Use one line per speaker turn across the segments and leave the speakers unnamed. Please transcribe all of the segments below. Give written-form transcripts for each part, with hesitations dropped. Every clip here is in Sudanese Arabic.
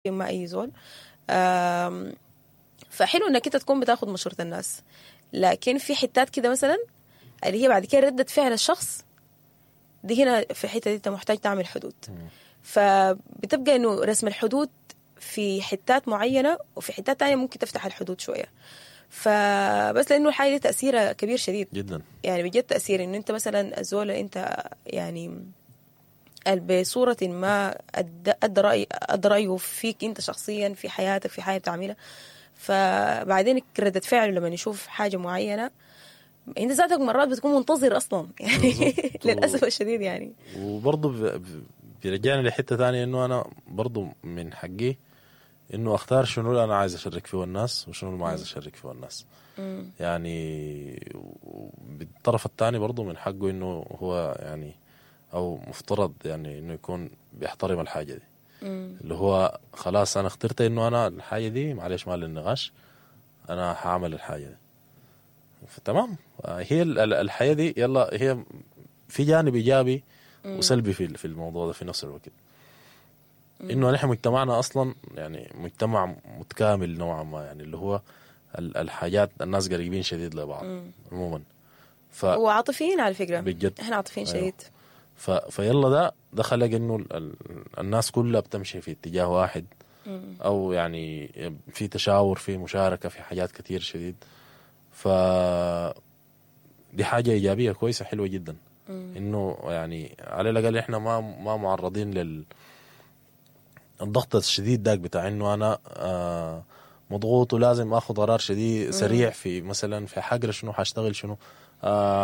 ما اي زول. فحلو انك انت تكون بتاخد مشورة الناس، لكن في حتات كده مثلا اللي هي بعد كده ردة فعل الشخص دي، هنا في الحتة دي انت محتاج تعمل حدود. فبتبقى انه رسم الحدود في حتات معينة، وفي حتات تانية ممكن تفتح الحدود شوية. فبس لانه الحاجة دي تأثيرها كبير شديد
جدا.
يعني بجد تأثير انه انت مثلا الزول انت يعني بصورة ما أدى رأيه فيك انت شخصيا في حياتك، في حاجة بتعملها، فبعدين ردة فعله لما يشوف حاجة معينة انت ذاتك مرات بتكون منتظر اصلا يعني للاسف الشديد يعني.
وبرضه بيرجعنا لحته ثانية، انه انا برضه من حقي انه اختار شنو اللي انا عايز اشارك فيه الناس وشنو اللي ما عايز اشارك فيه الناس. يعني بالطرف الثاني برضه من حقه انه هو يعني او مفترض يعني انه يكون بيحترم الحاجة دي. اللي هو خلاص انا اخترت انه انا الحاجة دي معلش ما للنقاش، انا هعمل الحاجة دي، فتمام. هي الحياة دي يلا هي في جانب ايجابي وسلبي في الموضوع ده في نفس الوقت. انه نحن مجتمعنا اصلا يعني مجتمع متكامل نوعا ما، يعني اللي هو الحاجات الناس قريبين شديد لبعض عموما.
وعاطفيين على فكرة،
بجد
احنا عاطفيين شديد.
فيلا ده خلق انه الناس كلها بتمشي في اتجاه واحد، او يعني في تشاور، في مشاركة، في حاجات كتير شديد. ف دي حاجة ايجابية كويسة حلوة جدا، انه يعني على الاقل احنا ما معرضين لل الضغط الشديد داك بتاع انه انا مضغوط ولازم اخذ قرار شديد سريع في مثلا في حقرا شنو، حاشتغل شنو،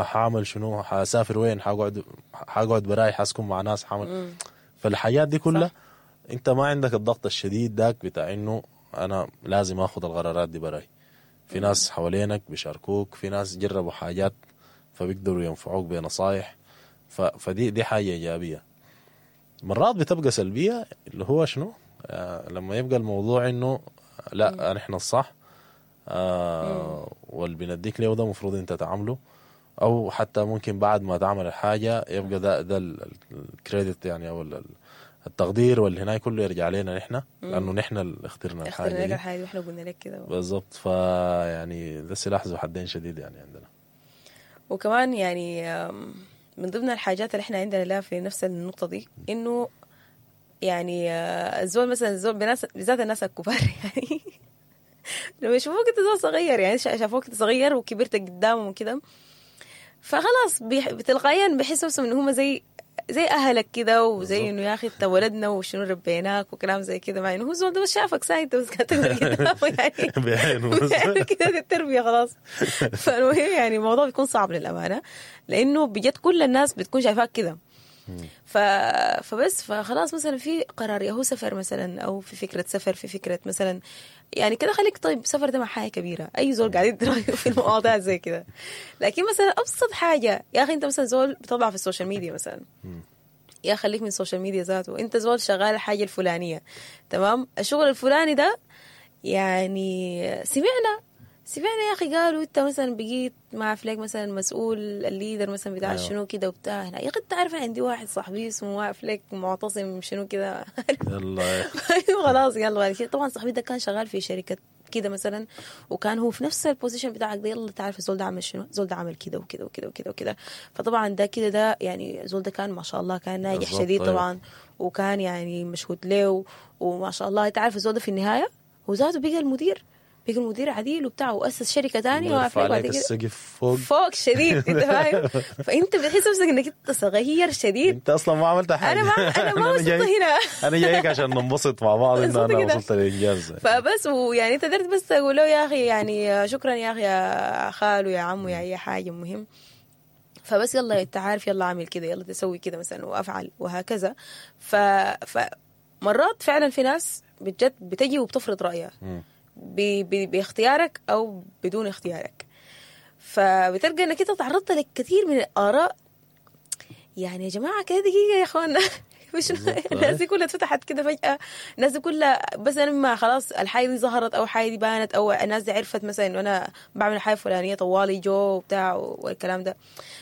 حاعمل شنو، حاسافر وين، حقعد براي، حاسكن مع ناس، حاعمل. فالحاجات دي كلها انت ما عندك الضغط الشديد داك بتاع انه انا لازم اخذ القرارات دي براي. في ناس حوالينك بيشاركوك، في ناس جربوا حاجات فبيقدروا ينفعوك بنصايح. فدي حاجة ايجابية. مرات بتبقى سلبية اللي هو شنو، لما يبقى الموضوع انه لا نحن الصح، واللي بنديك له ده المفروض انت تعمله، او حتى ممكن بعد ما تعمل الحاجة يبقى ده ال credit يعني، او التقدير واللي هناك كله يرجع لنا نحن، لانه نحن اللي اخترنا الحاجة دي،
الحاجة واحنا قلنا لك كده
بالضبط. فيعني ده سلاح ذو حدين شديد يعني عندنا.
وكمان يعني من ضمن الحاجات اللي احنا عندنا لها في نفس النقطة دي، انه يعني الزول مثلا، الزول بالذات الناس الكبار يعني لما يشوفوك انت زول صغير، يعني شافوك انت صغير وكبرت قدامهم وكده، فخلاص تلقائيا بيحسوا نفسهم انه هم زي اهلك كده، وزي انه يا اخي انت ولدنا وشنو ربيناك وكلام زي كده، مع انه هو زول ده بس شافك ساي انت بس كانت قدامه يعني
بعينه
كده التربية خلاص. فالمهم يعني الموضوع بيكون صعب للامانة، لانه بجد كل الناس بتكون شايفاك كده. فبس فخلاص مثلا في قرار يا هو سفر مثلا، او في فكرة سفر، في فكرة مثلا يعني كده خليك طيب سفر ده مع حاجة كبيرة، اي زول قاعد يدي رايه في المواضيع زي كده. لكن مثلا ابسط حاجة يا اخي، انت مثلا زول بتطلع في ال social media مثلا، يا خليك من ال social media ذاته، انت زول شغال الحاجة الفلانية، تمام، الشغل الفلاني ده يعني سمعنا يا اخي قالوا انت مثلا بقيت مع فليك مثلا مسؤول ال leader مثلا بتاع أيوه. شنو كده وبتاع هنا. يا اخي انت عارف عندي واحد صاحبي اسمه فليك معتصم شنو كده
يلا
خلاص يلا بعد كده. طبعا صاحبي ده كان شغال في شركة كده مثلا، وكان هو في نفس ال position بتاعك ده، يلا تعرف الزول ده عمل شنو، الزول ده عمل كده وكده وكده وكده وكده. فطبعا ده كده ده يعني الزول ده كان ما شاء الله كان ناجح شديد طبعا. أيوه. وكان يعني مشهود له وما شاء الله. انت عارف الزول ده في النهاية هو ذاته بقى المدير، بيجي المدير عديل وبتاع، واسس شركة ثانية
وقف عليك السقف
فوق شديد انت فاهم. فانت بتحس نفسك انك انت صغير شديد،
انت اصلا ما عملت حاجة.
انا ما وصلت هنا،
انا جايك عشان ننبسط مع بعض انه انا وصلت للانجاز.
فبس ويعني انت قدرت بس تقول له يا اخي يعني شكرا يا اخي يا خالو يا عمو يا اي حاجة المهم. فبس يلا انت عارف، يلا اعمل كده، يلا تسوي كده مثلا وافعل وهكذا. فمرات فعلا في ناس بجد بتجي وبتفرض رايها باختيارك او بدون اختيارك. فبتلقى انك انت تعرضت لكثير من الاراء. يعني يا جماعة كده دقيقة يا اخوانا، مش الناس دي كلها اتفتحت كده فجاة، الناس دي كلها بس انا ما خلاص الحاجة دي ظهرت او حاجة دي بانت او الناس دي عرفت مثلا انه انا بعمل حاجة فلانيه طوالي جو وبتاع والكلام ده.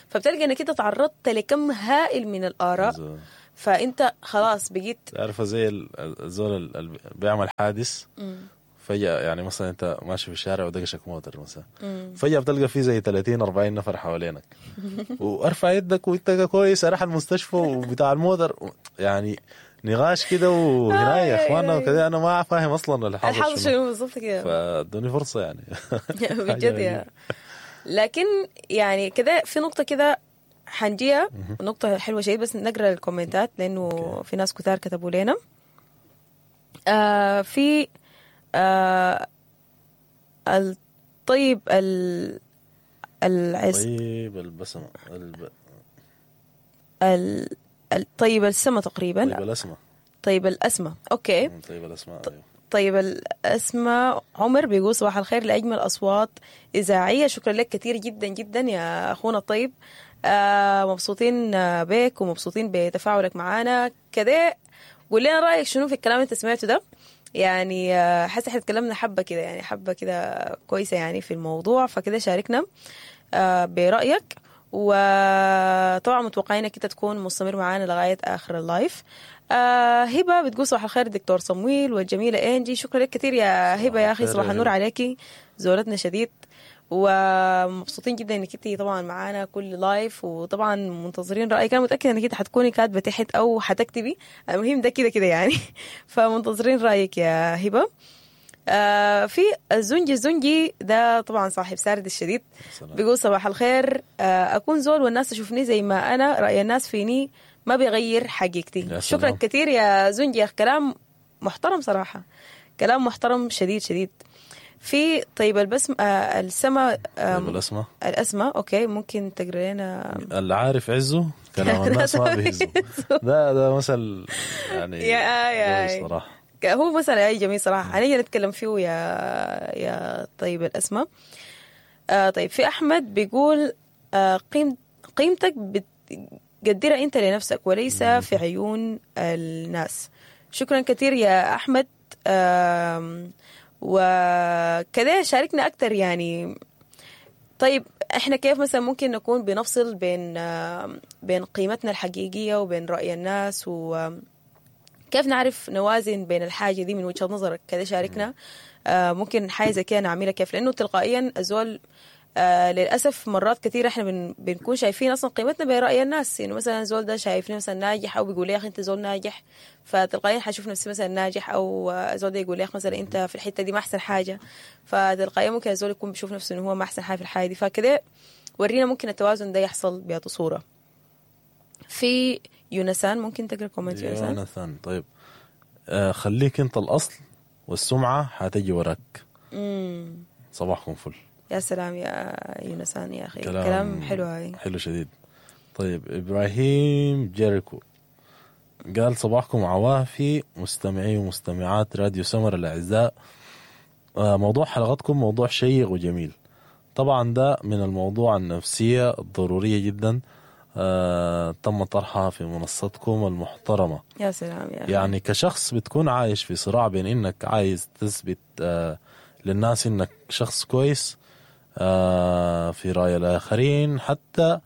فبتلقى انك انت تعرضت لكم هائل من الاراء فانت خلاص بقيت
عارفه زي الزول اللي بيعمل حادث فجأة، يعني مثلا انت ماشي في الشارع ودقشك موتر مثلا، فجأة بتلقى في زي 30 40 نفر حوالينك، وارفع يدك وانت كويس اروح المستشفى وبتاع الموتر، يعني نقاش كده وهنا يا اخوانا وكده، انا ما فاهم اصلا اللي حاصل
شنو بالضبط كده،
فادوني فرصة يعني.
بجد يا. لكن يعني كده في نقطة كده حنجيها، نقطة حلوة شيء، بس نقرا الكومنتات لانه في ناس كتار كتبوا لنا. في الطيب العز،
طيب البسمة،
الطيب السما تقريبا،
طيب الأسمة،
طيب الأسمة، okay،
طيب الأسمة، أيوه.
طيب الأسمة عمر بيقول صباح الخير لأجمل أصوات إذاعية. شكرا لك كثير جدا جدا يا أخونا الطيب، مبسوطين بك ومبسوطين بتفاعلك معانا كده. قول لنا رأيك شنو في الكلام اللي انت سمعته ده، يعني حاسه احنا اتكلمنا حبه كده، يعني حبه كده كويسة يعني في الموضوع، فكده شاركنا برأيك، وطبعا متوقعين انك انت تكون مستمر معانا لغاية اخر ال live. هبه بتقول صباح الخير دكتور صمويل والجميلة انجي. شكرا لك كثير يا هبه يا اخي، صباح النور عليكي، زورتنا شديد ومبسوطين جدا انك انت طبعا معانا كل live، وطبعا منتظرين رايك. انا متاكدة انك انت حتكوني كاتبه تحت او حتكتبي، المهم ده كده كده يعني، فمنتظرين رايك يا هبه. في الزنجي، الزنجي ده طبعا صاحب سارد الشديد، بيقول صباح الخير، اكون زول والناس تشوفني زي ما انا، راي الناس فيني ما بيغير حقيقتي. شكرا كثير يا زنجي يا اخي، كلام محترم صراحة، كلام محترم شديد شديد. في طيب البسم السما،
طيب الأسمة،
الأسمة، okay، ممكن تقرا لنا؟
اللي عارف عزه كلام الناس ما بيهزه. ده مثل يعني
يا
صراحة،
هو مثل اي جميل صراحة، هنيجي نتكلم فيه يا طيب الأسمة. طيب في أحمد بيقول قيمتك بتقدرها أنت لنفسك وليس في عيون الناس. شكرا كثير يا أحمد، وكذا شاركنا أكتر يعني. طيب إحنا كيف مثلا ممكن نكون بنفصل بين قيمتنا الحقيقية وبين رأي الناس، وكيف نعرف نوازن بين الحاجة دي من وجهة نظرك؟ كذا شاركنا. ممكن حاجة زي كده نعملها كيف، لأنه تلقائيا الزول للأسف مرات كثيرة إحنا بنكون شايفين أصلا قيمتنا برأي الناس. يعني مثلا زول ده شايفني مثلا ناجح، أو بيقول لي يا أخي أنت زول ناجح، فتلقائيا حشوف نفسي مثلا ناجح، أو زول ده يقول لي يا أخي مثلا أنت في الحتة دي ما أحسن حاجة، فتلقائيا ممكن الزول يكون بيشوف نفسه إنه هو ما أحسن حاجة في الحاجة دي. فكده ورينا ممكن التوازن ده يحصل بأي صورة. في يونسان، ممكن تقرأ comment يونسان؟
يونسان، طيب خليك أنت الأصل والسمعة حتجي وراك. صباحكم فل.
يا سلام يا يونسان يا أخي، كلام حلو، هاي
حلو شديد. طيب إبراهيم جيريكو قال صباحكم عوافي مستمعي ومستمعات راديو سمر الأعزاء، موضوع حلقتكم موضوع شيق وجميل. طبعا ده من الموضوع النفسية الضرورية جدا، تم طرحها في منصتكم المحترمة.
يا سلام يا أخي.
يعني كشخص بتكون عايش في صراع بين إنك عايز تثبت للناس إنك شخص كويس في رأي الآخرين، حتى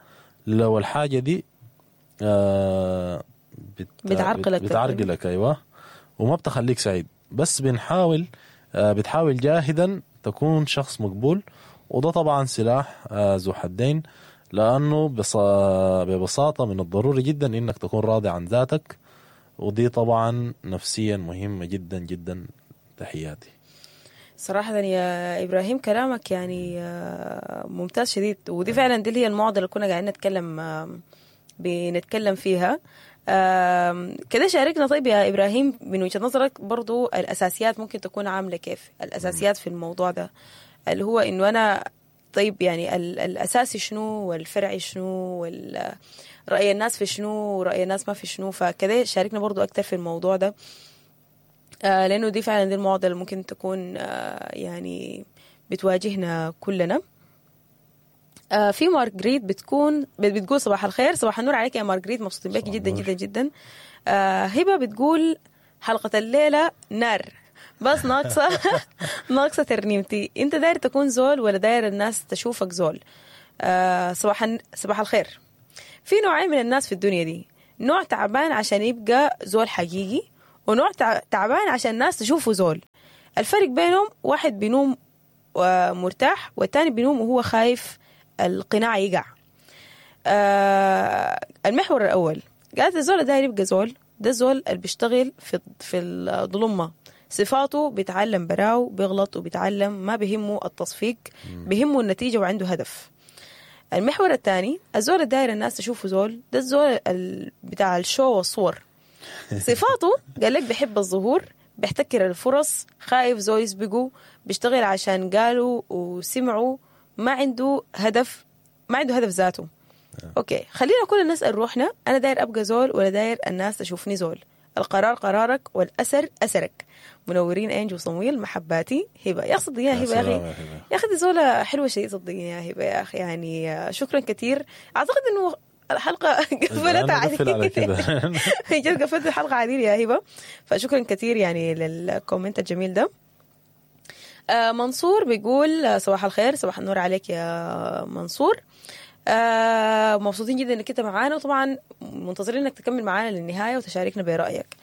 لو الحاجة دي بتعرقلك، أيوة، وما بتخليك سعيد، بس بتحاول جاهدا تكون شخص مقبول، وده طبعا سلاح ذو حدين، لأنه ببساطة من الضروري جدا إنك تكون راضي عن ذاتك، ودي طبعا نفسيا مهمة جدا جدا. تحياتي.
صراحة يا إبراهيم كلامك يعني ممتاز شديد، ودي فعلا دي اللي هي المعضلة اللي كنا قاعدين بنتكلم فيها. كده شاركنا طيب يا إبراهيم من وجهة نظرك برضو الأساسيات ممكن تكون عاملة كيف، الأساسيات في الموضوع ده اللي هو إنه أنا طيب يعني الأساسي شنو والفرعي شنو ورأي الناس في شنو ورأي الناس ما في شنو، فكده شاركنا برضو أكتر في الموضوع ده، لأنه دي فعلا دي المعضلة اللي ممكن تكون يعني بتواجهنا كلنا. في مارغريت بتقول صباح الخير، صباح النور عليك يا مارغريت، مبسوطين بك جدا جدا جدا. هبة بتقول حلقة الليلة نار، بس ناقصة ناقصة ترنيمتي. انت داير تكون زول ولا داير الناس تشوفك زول؟ صباح الخير. في نوعين من الناس في الدنيا دي، نوع تعبان عشان يبقى زول حقيقي، ونوع تعبان عشان الناس تشوفه زول. الفرق بينهم واحد بينوم مرتاح، والتاني بينوم وهو خايف القناع يقع. المحور الأول قالت الزول داير يبقى زول، ده الزول اللي بيشتغل في الظلمة، صفاته بيتعلم براو، بيغلط وبيتعلم، ما بيهمه التصفيق، بيهمه النتيجة وعنده هدف. المحور الثاني الزول الداير الناس تشوفه زول، ده الزول بتاع ال show والصور، صفاته قال لك بيحب الظهور، بيحتكر الفرص، خايف زول يسبقه، بيشتغل عشان قالوا وسمعوا، ما عنده هدف، ما عنده هدف ذاته. okay، خلينا كلنا نسأل روحنا، انا داير ابقى زول ولا داير الناس تشوفني زول؟ القرار قرارك والاثر اثرك. منورين انجو وصمويل، محباتي هبه. يا صدقيني يا هبه، يا اخي يا اخي دي زوله حلوة شيء، صدقيني يا هبه يا اخي، يعني شكرا كثير. اعتقد انه الحلقة قفلت على كده، جد قفلت الحلقة عديل يا هبه، فشكرا كثير يعني لل comment الجميل ده. منصور بيقول صباح الخير، صباح النور عليك يا منصور. مبسوطين جدا انك انت معانا، وطبعا منتظرين انك تكمل معانا للنهاية وتشاركنا برايك.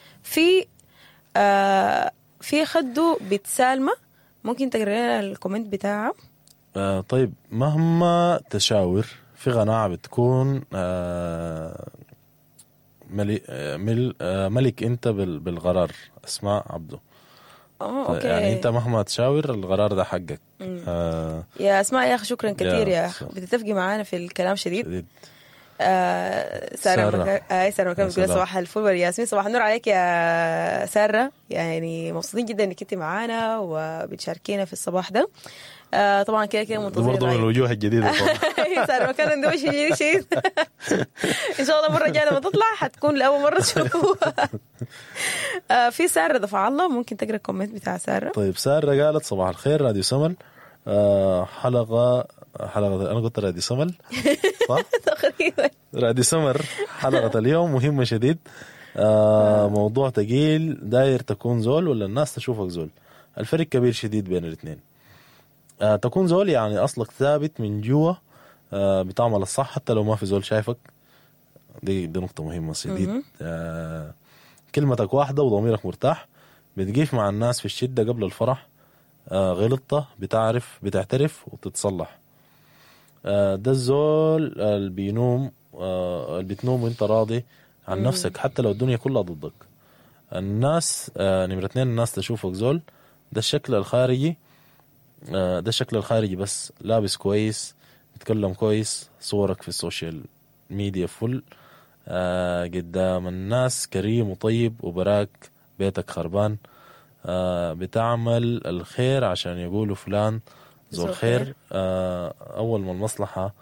في خدو بيت سالمه، ممكن تقرا لنا ال comment بتاعها؟
طيب، مهما تشاور في قناعة بتكون ملك انت بالقرار. اسماء عبده.
okay،
يعني انت مهما تشاور القرار ده حقك.
يا اسماء يا اخي شكرا كثير يا اخي، بتتفقي معانا في الكلام شديد. ساره ساره مكان بتقول صباح الفل والياسمين، صباح النور عليك يا ساره، يعني مبسوطين جدا انك انت معانا وبتشاركينا في الصباح ده. طبعا كده كده منتظرين
برضه من الوجوه الجديدة
طبعا. ساره مكان ده وش جديد شديد. ان شاء الله المرة الجاية لما تطلع حتكون لاول مرة تشوفوها. في ساره دفع الله، ممكن تقرا ال comment بتاع ساره؟
طيب، ساره قالت صباح الخير راديو سمل، حلقة انا قلت راديو سمل صح؟
تقريبا
راديو سمر. حلقة اليوم مهمة شديد، موضوع تقيل، داير تكون زول ولا الناس تشوفك زول؟ الفرق كبير شديد بين الاثنين. تكون زول يعني اصلك ثابت من جوا، بتعمل الصح حتى لو ما في زول شايفك، دي نقطة مهمة شديد. كلمتك واحدة وضميرك مرتاح، بتقيف مع الناس في الشدة قبل الفرح، غلطة بتعرف بتعترف وتتصلح. ده الزول اللي بينوم، اللي بتنوم وانت راضي عن نفسك حتى لو الدنيا كلها ضدك. الناس نمرة 2، الناس تشوفك زول، ده الشكل الخارجي، ده الشكل الخارجي بس، لابس كويس، بتكلم كويس، صورك في ال social media full، قدام الناس كريم وطيب، وبراك بيتك خربان، بتعمل الخير عشان يقولوا فلان ذو الخير. أول ما المصلحة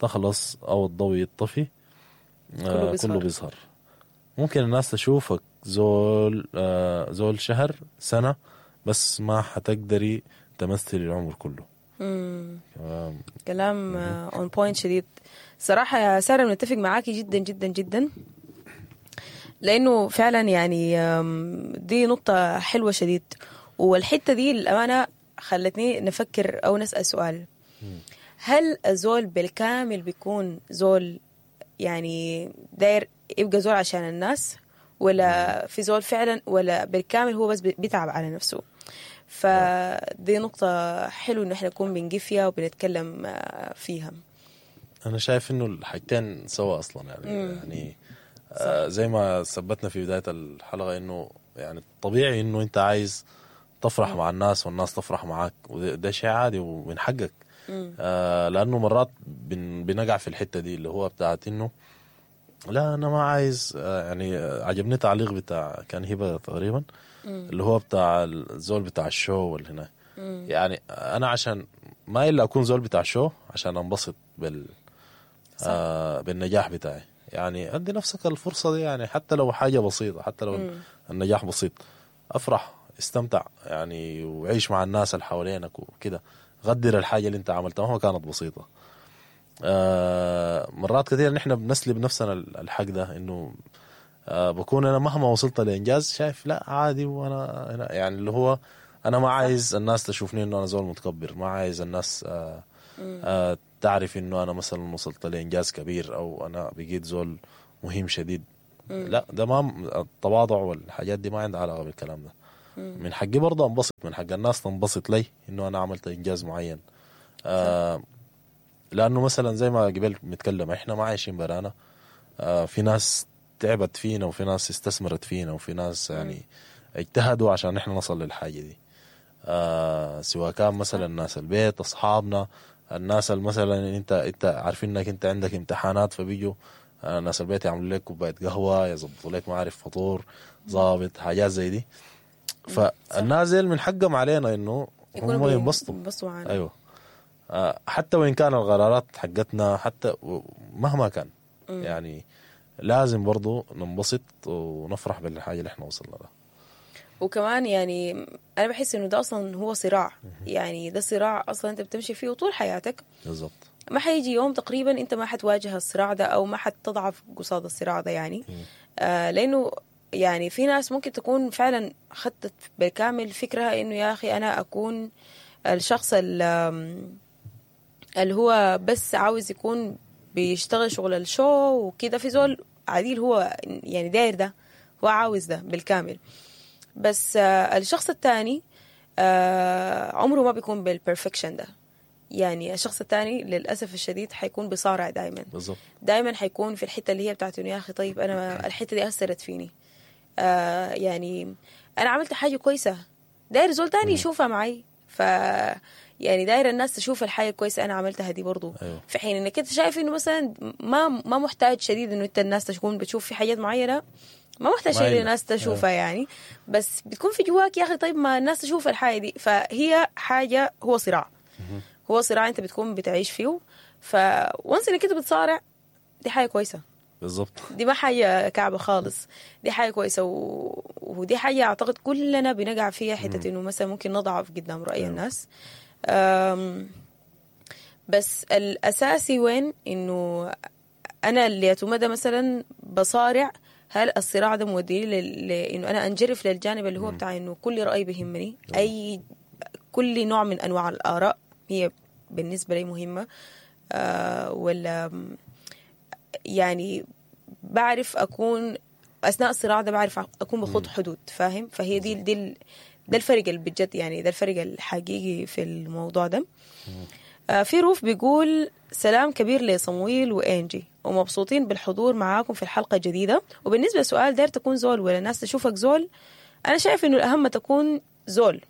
تخلص أو الضوء يطفي كله بيظهر. ممكن الناس تشوفك زول زول شهر سنة، بس ما حتقدري تمثلي العمر كله.
كلام on point شديد صراحة يا سارة، بنتفق معاكي جدا جدا جدا، لأنه فعلا يعني دي نقطة حلوة شديد. والحتة دي للأمانة خلتني نفكر أو نسأل سؤال، هل الزول بالكامل بيكون زول يعني داير يبقى زول عشان الناس، ولا في زول فعلا ولا بالكامل هو بس بيتعب على نفسه؟ فدي نقطة حلوة إنه إحنا نكون بنجي فيها وبنتكلم فيها.
أنا شايف إنه الحاجتين سوا أصلا يعني يعني زي ما ثبتنا في بداية الحلقة إنه يعني طبيعي إنه أنت عايز تفرح مع الناس والناس تفرح معاك، وده شيء عادي ومن حقك. لأنه مرات بنقع في الحتة دي اللي هو بتاعت إنه لا أنا ما عايز، يعني عجبني تعليق بتاع كان هبة تقريبا اللي هو بتاع الزول بتاع ال show واللي هنا. يعني أنا عشان ما إلا أكون زول بتاع show عشان أنبسط بالنجاح بتاعي. يعني أدي نفسك الفرصة دي، يعني حتى لو حاجة بسيطة، حتى لو النجاح بسيط، أفرح، استمتع يعني، وعيش مع الناس اللي حوالينك وكده، غدر الحاجة اللي انت عملتها مهما كانت بسيطة. مرات كثير نحن بنسلب نفسنا الحق ده، انه بكون انا مهما وصلت لإنجاز شايف لا عادي، وانا يعني اللي هو انا ما عايز الناس تشوفني انه انا زول متكبر، ما عايز الناس تعرف انه انا مثلا وصلت لإنجاز كبير او انا بقيت زول مهم شديد. لا ده ما التواضع والحاجات دي ما عندها علاقة بالكلام ده. من حقي برضه انبسط، من حق الناس تنبسط لي انه انا عملت انجاز معين. لانه مثلا زي ما قبل بنتكلم احنا ما عايشين برانا، في ناس تعبت فينا وفي ناس استثمرت فينا وفي ناس يعني اجتهدوا عشان احنا نصل للحاجة دي. سواء كان مثلا ناس البيت، اصحابنا، الناس اللي مثلا انت عارفين انك انت عندك امتحانات فبيجوا ناس البيت يعملوا لك كوباية قهوة، يظبطوا لك ما عارف فطور ظابط، حاجات زي دي. فالناس ديل من حقهم علينا انه هم ينبسطوا
معنا.
ايوه، حتى وان كان القرارات حقتنا، حتى مهما كان يعني لازم برضو ننبسط ونفرح بالحاجة اللي احنا وصلنا لها.
وكمان يعني انا بحس انه ده اصلا هو صراع، يعني ده صراع اصلا انت بتمشي فيه طول حياتك.
بالضبط،
ما حيجي يوم تقريبا انت ما حتواجه الصراع ده او ما حتضعف قصاد الصراع ده يعني. لانه يعني في ناس ممكن تكون فعلا خدت بالكامل فكرة انه يا اخي انا اكون الشخص اللي هو بس عاوز يكون بيشتغل شغل ال show وكده، في زول عديل هو يعني داير ده، هو عاوز ده بالكامل. بس الشخص الثاني عمره ما بيكون بال perfection ده. يعني الشخص الثاني للأسف الشديد حيكون بيصارع دايما.
بالضبط،
دايما حيكون في الحتة اللي هي بتاعت انه يا أخي طيب أنا الحتة دي أثرت فيني، يعني أنا عملت حاجة كويسة، داير زول تاني يشوفها معي، ف يعني داير الناس تشوف الحاجة الكويسة أنا عملتها دي برضو.
أيوه.
في حين إنك أنت شايف إنه مثلا ما محتاج شديد إنه أنت الناس تكون بتشوف في حاجات معينة، ما محتاج شيء الناس تشوفها.
أيوه.
يعني بس بتكون في جواك يا أخي طيب ما الناس تشوف الحاجة دي. فهي حاجة، هو صراع، هو صراع أنت بتكون بتعيش فيه. فونس إنك أنت بتصارع دي حاجة كويسة.
بالضبط،
دي ما حاجة كعبة خالص، دي حاجة كويسة. ودي حاجة أعتقد كلنا بنقع فيها، حتة إنه مثلا ممكن نضعف قدام رأي الناس. بس الأساسي وين إنه أنا اللي يتمدى مثلا بصارع، هل الصراع ده موديني لإنه أنا أنجرف للجانب اللي هو بتاع إنه كل رأي بيهمني، أي كل نوع من أنواع الآراء هي بالنسبة لي مهمة، ولا يعني بعرف أكون أثناء الصراع ده بعرف أكون بخوض حدود، فاهم؟ فهي دي ده الفرق اللي بجد، يعني ده الفرق الحقيقي في الموضوع ده. في روف بيقول سلام كبير لصمويل وإنجي، ومبسوطين بالحضور معاكم في الحلقة الجديدة. وبالنسبة لسؤال داير تكون زول ولا الناس تشوفك زول، أنا شايف إنه الأهم تكون زول،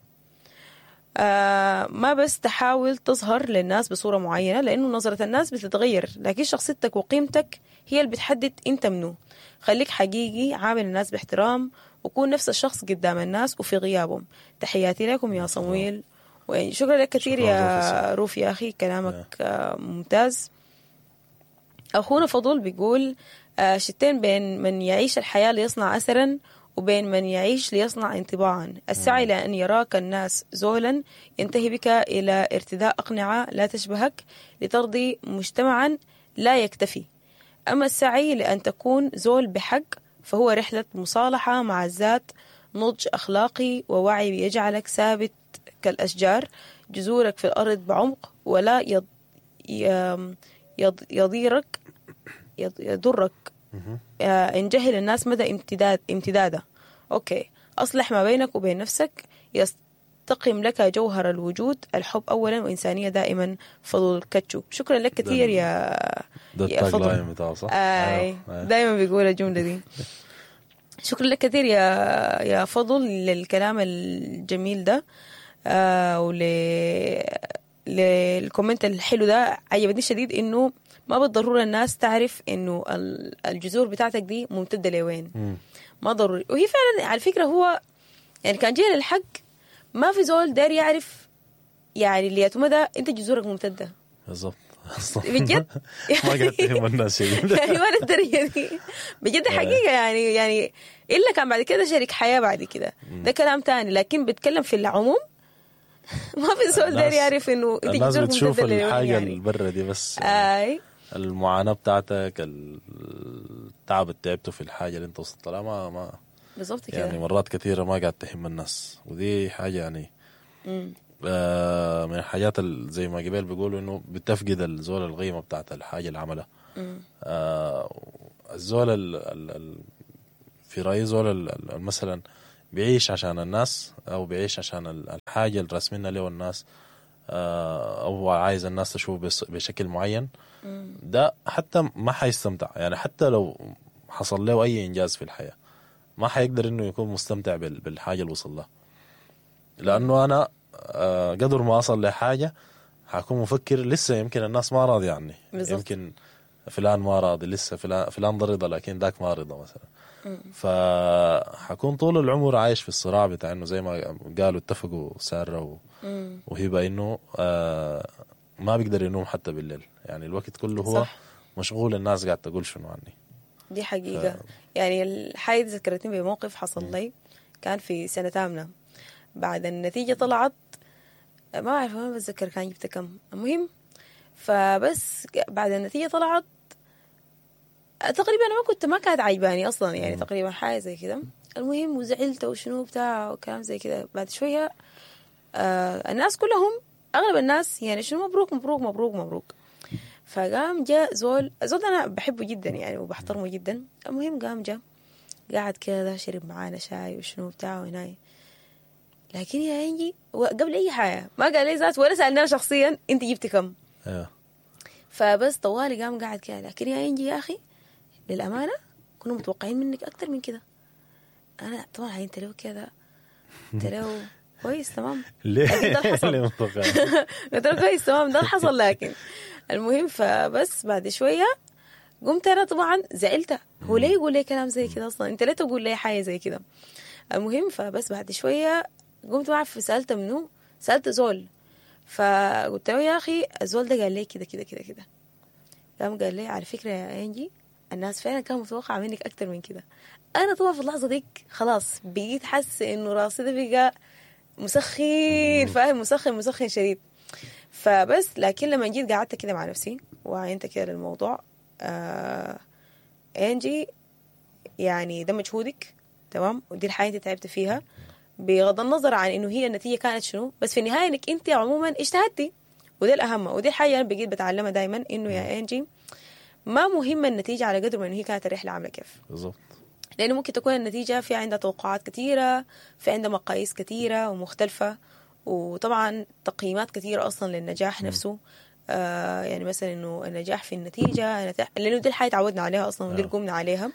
ما بس تحاول تظهر للناس بصورة معينة، لأنه نظرة الناس بتتغير، لكن شخصيتك وقيمتك هي اللي بتحدد أنت منو. خليك حقيقي، عامل الناس باحترام، وكون نفس الشخص قدام الناس وفي غيابهم. تحياتي لكم يا صمويل، وشكرا لك كثير يا روف يا أخي، كلامك ممتاز. أخونا فضول بيقول شتين بين من يعيش الحياة ليصنع أثرا وبين من يعيش ليصنع انطباعا. السعي لأن يراك الناس زولا ينتهي بك إلى ارتداء أقنعة لا تشبهك لترضي مجتمعا لا يكتفي. أما السعي لأن تكون زول بحق فهو رحلة مصالحة مع الذات، نضج أخلاقي ووعي يجعلك ثابت كالأشجار، جذورك في الأرض بعمق ولا يضيرك يضرك إن جهل الناس مدى امتداده. أوكي، أصلح ما بينك وبين نفسك يستقم لك جوهر الوجود، الحب أولا وإنسانية دائما. فضل كاتشو، شكرا لك كثير يا فضل. دائما بيقول الجملة دي. شكرا لك كثير يا فضل للكلام الجميل ده، لل comment الحلو ده. عجبني شديد إنه ما بالضرورة الناس تعرف إنه الجذور بتاعتك دي ممتدة لوين، ما ضروري. وهي فعلا على فكرة هو يعني كان جيل الحق ما في زول داير يعرف يعني اللي يتمدى أنت جذورك ممتدة.
بالضبط
بجد
ما قاعد تهم الناس
يعني ولا الدرجة دي بجد حقيقة يعني إلا كان بعد كده شريك حياة بعد كده ده كلام تاني، لكن بتكلم في العموم ما في زول داير يعرف إنه أنت
الناس بتشوف الحاجة يعني البرة دي بس، يعني المعاناة بتاعتك، التعب اللي تعبته في الحاجة اللي أنت وصلت لها ما
بالضبط كده.
يعني مرات كثيرة ما قاعد تهم الناس، ودي حاجة يعني من الحاجات زي ما قبل بيقولوا إنه بتفقد الزول القيمة بتاعت الحاجة اللي عملها. الزول في رايي زول مثلا بيعيش عشان الناس، او بيعيش عشان الحاجة اللي راسمينها له الناس، او عايز الناس تشوف بشكل معين، ده حتى ما حيستمتع. يعني حتى لو حصل له اي انجاز في الحياة ما حيقدر انه يكون مستمتع بالحاجة اللي وصل لها، لانه انا قدر ما اصل لحاجة حكون مفكر لسه يمكن الناس ما راضية عني، يمكن فلان ما راضي لسه، فلان رضا لكن ذاك ما رضا مثلا. فحكون طول العمر عايش في الصراع بتاع انه زي ما قالوا اتفقوا ساره وهبه انه ما بيقدر ينوم حتى بالليل، يعني الوقت كله هو صح. مشغول الناس قاعد تقول شنو عني.
دي حقيقة. يعني الحاجة ذكرتني بموقف حصل لي، كان في سنة ثامنه، بعد النتيجة طلعت ما أعرف ما بتذكر كان جبت كم، المهم فبس بعد النتيجة طلعت تقريبا أنا ما كانت عجباني أصلا، يعني تقريبا حاجة زي كده. المهم وزعلت وشنو بتاع وكلام زي كده. بعد شوية الناس كلهم أغلب الناس يعني شنو مبروك مبروك مبروك مبروك. فقام جاء زول أنا بحبه جدا يعني وبحترمه جدا. المهم قام جاء قاعد كده شرب معانا شاي وشنو بتاع وهناي، لكن يا انجي قبل اي حاجة ما قال لي ذات ولا سالناه شخصيا انت جبتي كم. فبس طوالي قام قاعد كده، لكن يا انجي يا اخي للامانة كنا متوقعين منك اكثر من كده. انا طبعا عينت له كده، قلت له كويس تمام.
ليه
ده حصل؟ قلت له كويس تمام ده حصل. لكن المهم فبس بعد شوية قمت انا طبعا زعلت، هو ليه يقول لي كلام زي كده اصلا؟ انت ليه تقول لي حاجة زي كده؟ المهم فبس بعد شوية قمت ما اعرف سالت منو، سالت زول، فقلت له يا اخي الزول ده قال لي كده كده كده كده. قام قال لي على فكرة يا انجي الناس فعلا كانوا متوقعه منك اكتر من كده. انا طبعا في اللحظة ديك خلاص بقيت حاسه انه راسي ده بقى مسخن، فاهم، مسخن مسخن شديد. فبس لكن لما جيت قعدت كده مع نفسي وعينت كده للموضوع، انجي يعني ده مجهودك تمام، ودي الحياة انت تعبت فيها بغض النظر عن انه هي النتيجة كانت شنو، بس في النهاية انك انت عموما اجتهدتي، وده الاهم. ودي الحاجة انا بقيت بتعلمها دائما، انه يا انجي ما مهم النتيجة على قدر ما انه هي كانت الرحلة عامله كيف
بالضبط.
لانه ممكن تكون النتيجة في عندها توقعات كثيرة، في عندها مقاييس كثيرة ومختلفة، وطبعا تقييمات كثيرة اصلا للنجاح نفسه. يعني مثلا انه النجاح في النتيجة، لانه دي الحاجة تعودنا عليها اصلا ودي اللي قمنا عليها،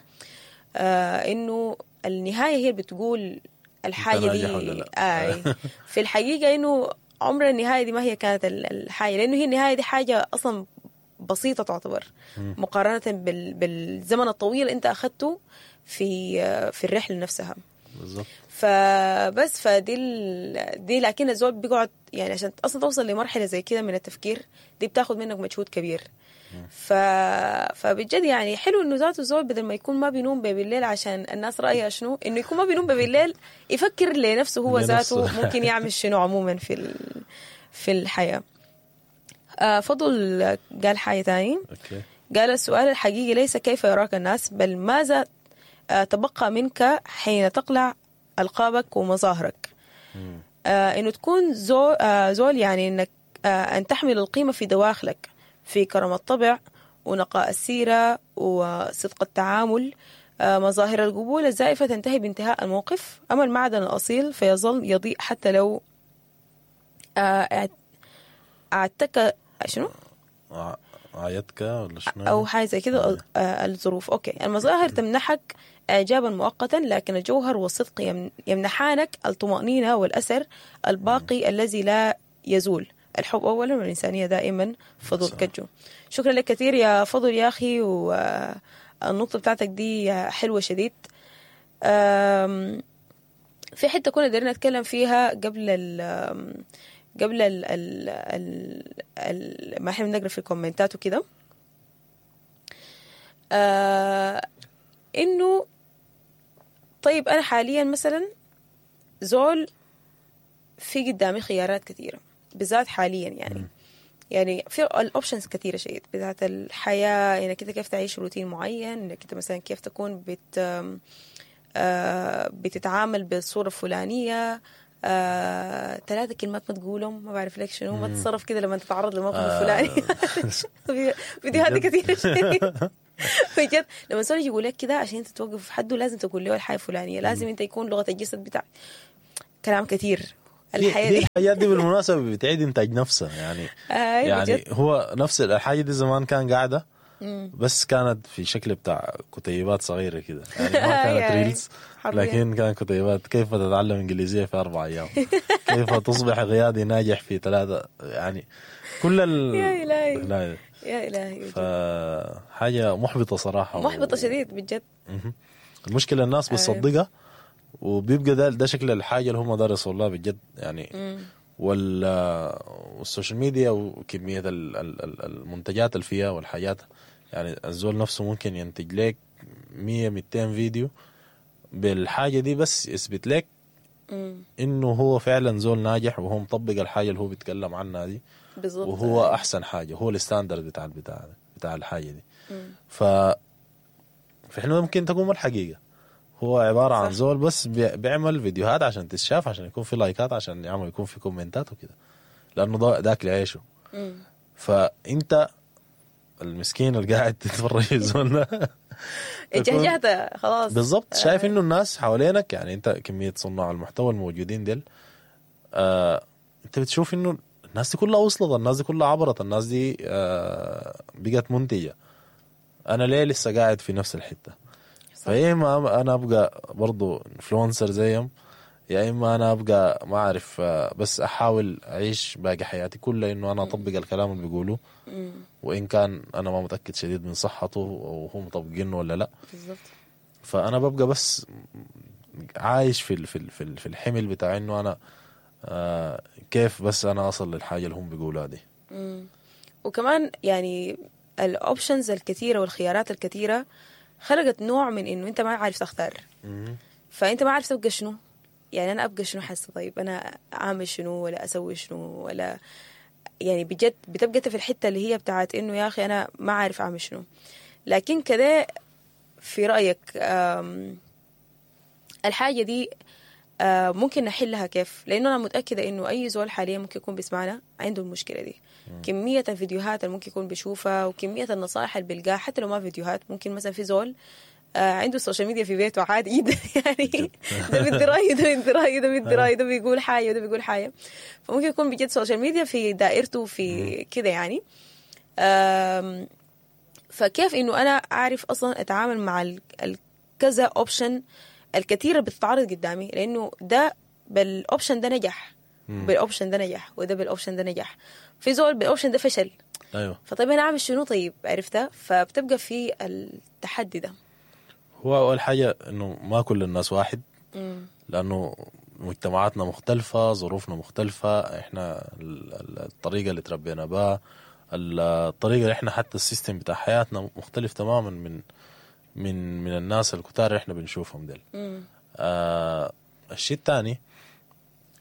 انه النهاية هي اللي بتقول الحاجة دي. في الحقيقة انه عمر النهاية دي ما هي كانت الحاجة، لانه هي النهاية دي حاجة اصلا بسيطة تعتبر مقارنة بالزمن الطويل انت اخذته في الرحلة نفسها.
بالظبط.
فبس فدي دي لكن الزول بيقعد يعني عشان اصلا توصل لمرحلة زي كده من التفكير دي بتاخد منك مجهود كبير. فبجد يعني حلو انه ذاته الزول بدل ما يكون ما بينوم بالليل عشان الناس رايها شنو، انه يكون ما بينوم بالليل يفكر لنفسه هو ذاته ممكن يعمل شنو عموما في الحياة. فضل قال حاجة تاني. قال السؤال الحقيقي ليس كيف يراك الناس، بل ماذا تبقى منك حين تقلع ألقابك ومظاهرك. إنه تكون زول يعني إنك أن تحمل القيمة في دواخلك، في كرم الطبع ونقاء السيرة وصدق التعامل. مظاهر القبول الزائفة تنتهي بانتهاء الموقف، أما المعدن الأصيل فيظل يضيء حتى لو أعتك شنو؟
عيتك ولا شنو؟
أو حاجة زي كده. الظروف. okay. المظاهر تمنحك إعجابا مؤقتا، لكن الجوهر والصدق يمنحانك الطمأنينة والأثر الباقي الذي لا يزول. الحب أولا والإنسانية دائما. فضل كجو، شكرا لك كثير يا فضل يا أخي، والنقطة بتاعتك دي حلوة شديد. في حتة كنا دارين نتكلم فيها قبل ال قبل ال ال ال ما احنا بنقرا في الكومنتات وكده، انه طيب انا حاليا مثلا زول في قدامي خيارات كثيرة، بالذات حاليا يعني يعني في ال options كثيرة شديد، بالذات الحياة انك انت كيف تعيش روتين معين، انك انت مثلا كيف تكون بتتعامل بالصورة الفلانية، 3 كلمات ما تقولهم، ما بعرف لك شنو، ما تتصرف كده لما تتعرض للموقف الفلاني. فيديوهات كثيرة شديد. بجد لما الزول يجي يقول لك كده عشان انت توقف في حده لازم تقول له الحاجة الفلانية، لازم انت يكون لغة الجسد بتاعك كلام كثير. الحياة
دي الحاجات دي بالمناسبة بتعيد انتاج نفسها يعني. يعني بجد. هو نفس الحاجة دي زمان كان قاعدة بس كانت في شكل بتاع كتيبات صغيرة كده يعني، ما كانت reels، لكن كان كتيبات كيف تتعلم انجليزية في 4 أيام، كيف تصبح قيادي ناجح في 3، يعني كل
يا إلهي يا إلهي.
فحاجة محبطة صراحة،
محبطة شديد بجد.
المشكلة الناس بتصدقها وبيبقى ده شكل الحاجة اللي هم درسوا الله بجد يعني. وال social media وكمية المنتجات اللي فيها والحاجات، يعني الزول نفسه ممكن ينتج لك 100-200 فيديو بالحاجة دي بس يثبت لك إنه هو فعلا زول ناجح وهو مطبق الحاجة اللي هو بيتكلم عنها دي
بالضبط،
وهو أحسن حاجة، هو ال standard بتاع الحاجة دي. فإحنا ممكن تكون الحقيقة هو عبارة عن زول بس بيعمل فيديوهات عشان تتشاف، عشان يكون في لايكات، عشان يعمل يكون في كومنتات وكده، لأنه ده أكل عيشه. فأنت المسكين اللي قاعد تتفرج الزول ده
اتجهجهت خلاص
بالضبط. شايف إنه الناس حوالينك يعني، أنت كمية صناع المحتوى الموجودين ديل، أنت بتشوف إنه الناس دي كلها وصلت، الناس دي كلها عبرت، الناس دي بقت منتجة، أنا ليه لسه قاعد في نفس الحتة؟ فيا إما أنا أبقى برضو influencer زيهم، يا إما أنا أبقى ما أعرف بس أحاول أعيش باقي حياتي كلها إنه أنا أطبق الكلام اللي بيقولوه، وإن كان أنا ما متأكد شديد من صحته وهو مطبقينه ولا لا
بالضبط.
فأنا ببقى بس عايش في في الحمل بتاع إنه أنا كيف بس أنا أصل للحاجة اللي هم بيقولوها دي.
وكمان يعني ال options الكثيرة والخيارات الكثيرة خلقت نوع من إنه أنت ما عارف تختار. فأنت ما عارف تبقى شنو، يعني أنا أبقى شنو حاسة، طيب أنا أعمل شنو ولا أسوي شنو ولا يعني بجد بتبقى في الحتة اللي هي بتاعت إنه يا أخي أنا ما عارف أعمل شنو. لكن كده في رأيك الحاجة دي ممكن نحلها كيف؟ لأنه أنا متأكدة إنه أي زول حاليا ممكن يكون بيسمعنا عنده المشكلة دي. كمية الفيديوهات اللي ممكن يكون بيشوفها وكمية النصائح اللي بيلقاها، حتى لو ما فيديوهات، ممكن مثلا في زول عنده ال social media في بيته عادي جدا يعني ده بيدي رأي، ده بيدي رأي، ده بيدي رأي، ده بيقول حاجة، ده بيقول حاجة. فممكن يكون بجد social media في دائرته في كده يعني. فكيف إنه أنا أعرف أصلا أتعامل مع الكذا option الكثيرة بتتعرض قدامي؟ لأنه ده بال option ده نجح، بال option ده نجح، وده بال option ده نجح، في زول بال option ده فشل.
أيوه.
فطيب أنا أعمل شنو؟ طيب عرفتها؟ فبتبقى في التحدي ده.
هو أول حاجة إنه ما كل الناس واحد، لأنه مجتمعاتنا مختلفة، ظروفنا مختلفة، إحنا الطريقة اللي تربينا بها، الطريقة اللي إحنا حتى ال system بتاع حياتنا مختلف تماما من من من الناس الكتار اللي إحنا بنشوفهم ديل. الشيء الثاني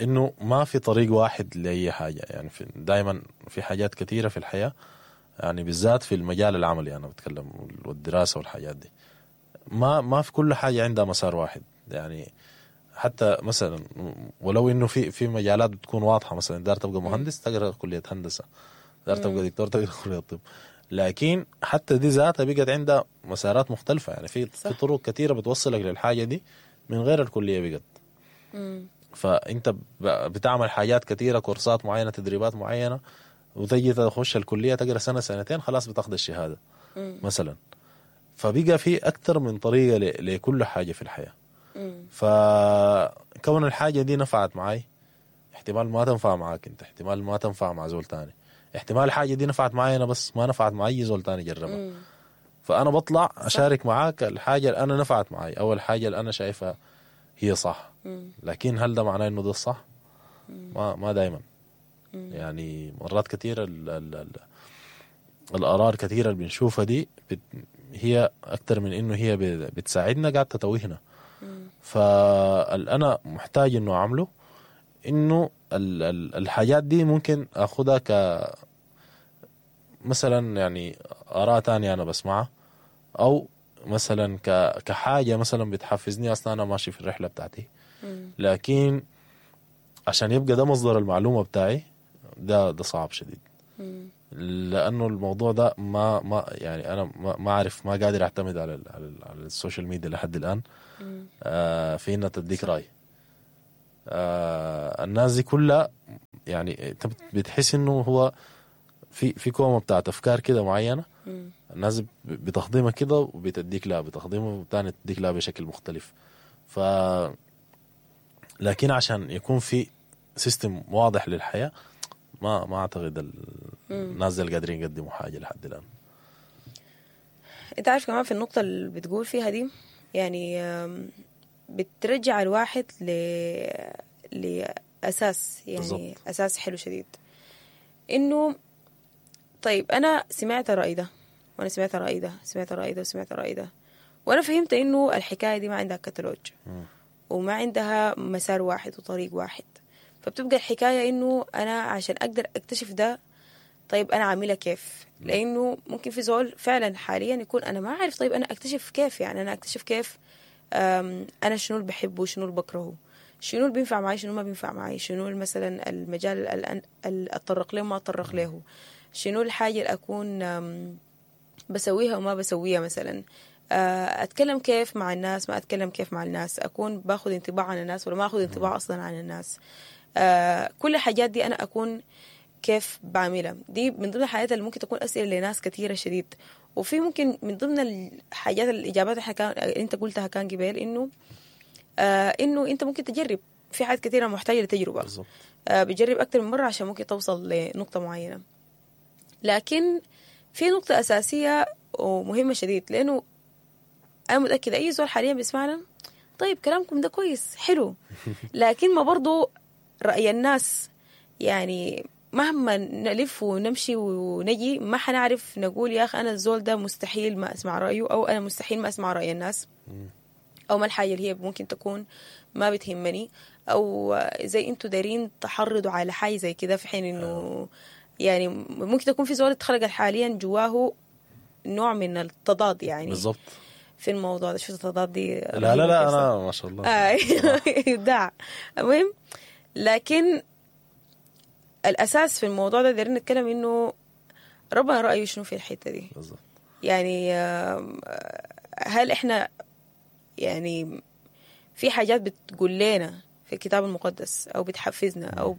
إنه ما في طريق واحد لأي حاجة، يعني دايما في حاجات كثيرة في الحياة، يعني بالذات في المجال العملي أنا بتكلم والدراسة والحاجات دي، ما في كل حاجة عندها مسار واحد. يعني حتى مثلا ولو إنه في مجالات بتكون واضحة، مثلا دار تبقى مهندس تقرأ كلية هندسة، دار تبقى دكتور تقرأ كلية طب، لكن حتى دي ذاتها بقت عندها مسارات مختلفة. يعني في طرق كثيرة بتوصلك للحاجة دي من غير الكلية بقت. فأنت بتعمل حاجات كثيرة، كورسات معينة، تدريبات معينة، وتجي تخش الكلية تقرأ سنة سنتين خلاص بتاخد الشهادة مثلا. فبقى في أكثر من طريقة لكل حاجة في الحياة. فكون الحاجة دي نفعت معي احتمال ما تنفع معاك انت، احتمال ما تنفع مع زول تاني، احتمال الحاجة دي نفعت معي أنا بس ما نفعت مع أي زول تاني جربها. فأنا بطلع أشارك معاك الحاجة اللي أنا نفعت معي أو الحاجة اللي أنا شايفها هي صح. لكن هل ده معناه إنه ده الصح؟ ما دايما. يعني مرات كثيرة الآراء الكثيرة اللي بنشوفها دي هي أكثر من إنه هي بتساعدنا قاعد تتوهنا. فالأنا محتاج إنه أعمله إنه الحاجات دي ممكن أخذها ك مثلا يعني آراء تانية أنا بسمعها، أو مثلا كحاجة مثلا بتحفزني أصلا أنا ماشي في الرحلة بتاعتي. لكن عشان يبقى ده مصدر المعلومة بتاعي ده صعب شديد. لانه الموضوع ده ما يعني انا ما اعرف، ما قادر اعتمد على على ال social media لحد الان في انها تديك راي. الناس دي كلها يعني انت بتحس انه هو في كومة بتاعت افكار كده معينة، الناس بتخدمها كده وبتديك لها، بتخدمها وتاني تديك لها بشكل مختلف. ف لكن عشان يكون في system واضح للحياة ما اعتقد الناس اللي قادرين يقدموا حاجة لحد الان.
انت عارف كمان في النقطة اللي بتقول فيها دي، يعني بترجع الواحد لأساس، يعني بالزبط. أساس حلو شديد، إنه طيب أنا سمعت الرأي ده، وأنا سمعت الرأي ده، سمعت الرأي ده، وسمعت الرأي ده، وأنا فهمت إنه الحكاية دي ما عندها كتالوج وما عندها مسار واحد وطريق واحد. فبتبقى الحكاية إنه أنا عشان أقدر أكتشف ده، طيب أنا عاملها كيف؟ لأنه ممكن في زول فعلا حاليا يكون أنا ما عارف، طيب أنا أكتشف كيف؟ يعني أنا أكتشف كيف أنا شنو اللي بحبه، شنو اللي بكرهه، شنو اللي بينفع معي، شنو ما بينفع معي، شنو مثلا المجال اللي أتطرق له وما أتطرق له، شنو الحاجة اللي أكون بسويها وما بسويها، مثلا أتكلم كيف مع الناس، ما أتكلم كيف مع الناس، أكون باخذ انطباع عن الناس ولا ما أخذ انطباع أصلا عن الناس. كل الحاجات دي أنا أكون كيف بعملها. دي من ضمن الحاجات اللي ممكن تكون أسئلة لناس كثيرة شديد. وفي ممكن من ضمن الحاجات الإجابات اللي كان أنت قلتها كان قبل إنه إنه أنت ممكن تجرب في حاجات كثيرة محتاجة لتجربة. بتجرب أكثر من مرة عشان ممكن توصل لنقطة معينة. لكن في نقطة أساسية ومهمة شديد، لأنه أنا متأكدة أي زول حاليا بيسمعنا، طيب كلامكم ده كويس حلو، لكن ما برضو رأي الناس، يعني مهما نلف ونمشي ونجي ما حنعرف نقول يا أخي أنا الزول ده مستحيل ما أسمع رأيه، أو أنا مستحيل ما أسمع رأي الناس، أو ما الحاجة اللي هي ممكن تكون ما بتهمني، أو زي أنتوا دارين تحرضوا على حاجة زي كده، في حين إنه يعني ممكن تكون في زول اتخلق حاليا جواه نوع من التضاد، يعني
بالضبط
في الموضوع ده. شو التضاد دي؟
لا لا لا أنا ما شاء الله
إبداع. المهم لكن الأساس في الموضوع ده دارين نتكلم إنه ربنا رأيه شنو في الحتة دي
بالضبط.
يعني هل إحنا يعني في حاجات بتقول لنا في الكتاب المقدس أو بتحفزنا أو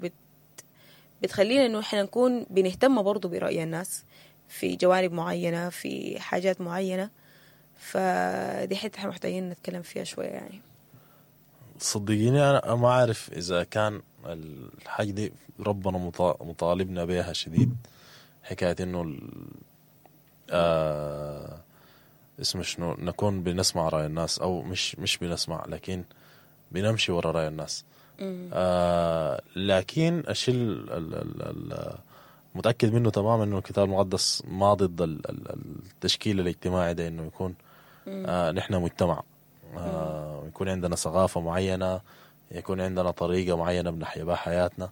بتخلينا إنه إحنا نكون بنهتم برضو برأي الناس في جوانب معينة، في حاجات معينة؟ فدي حتة إحنا محتاجين نتكلم فيها شوية. يعني
صدقيني أنا ما أعرف إذا كان الحاجة دي ربنا مطالبنا بها شديد، حكاية إنه اسمه شنو، نكون بنسمع رأي الناس، أو مش بنسمع لكن بنمشي ورا رأي الناس. لكن الشيء متأكد منه تماما إنه الكتاب المقدس ما ضد التشكيل الاجتماعي ده، إنه يكون نحن مجتمع، يكون عندنا ثقافة معينة، يكون عندنا طريقة معينة بنحيا بها حياتنا،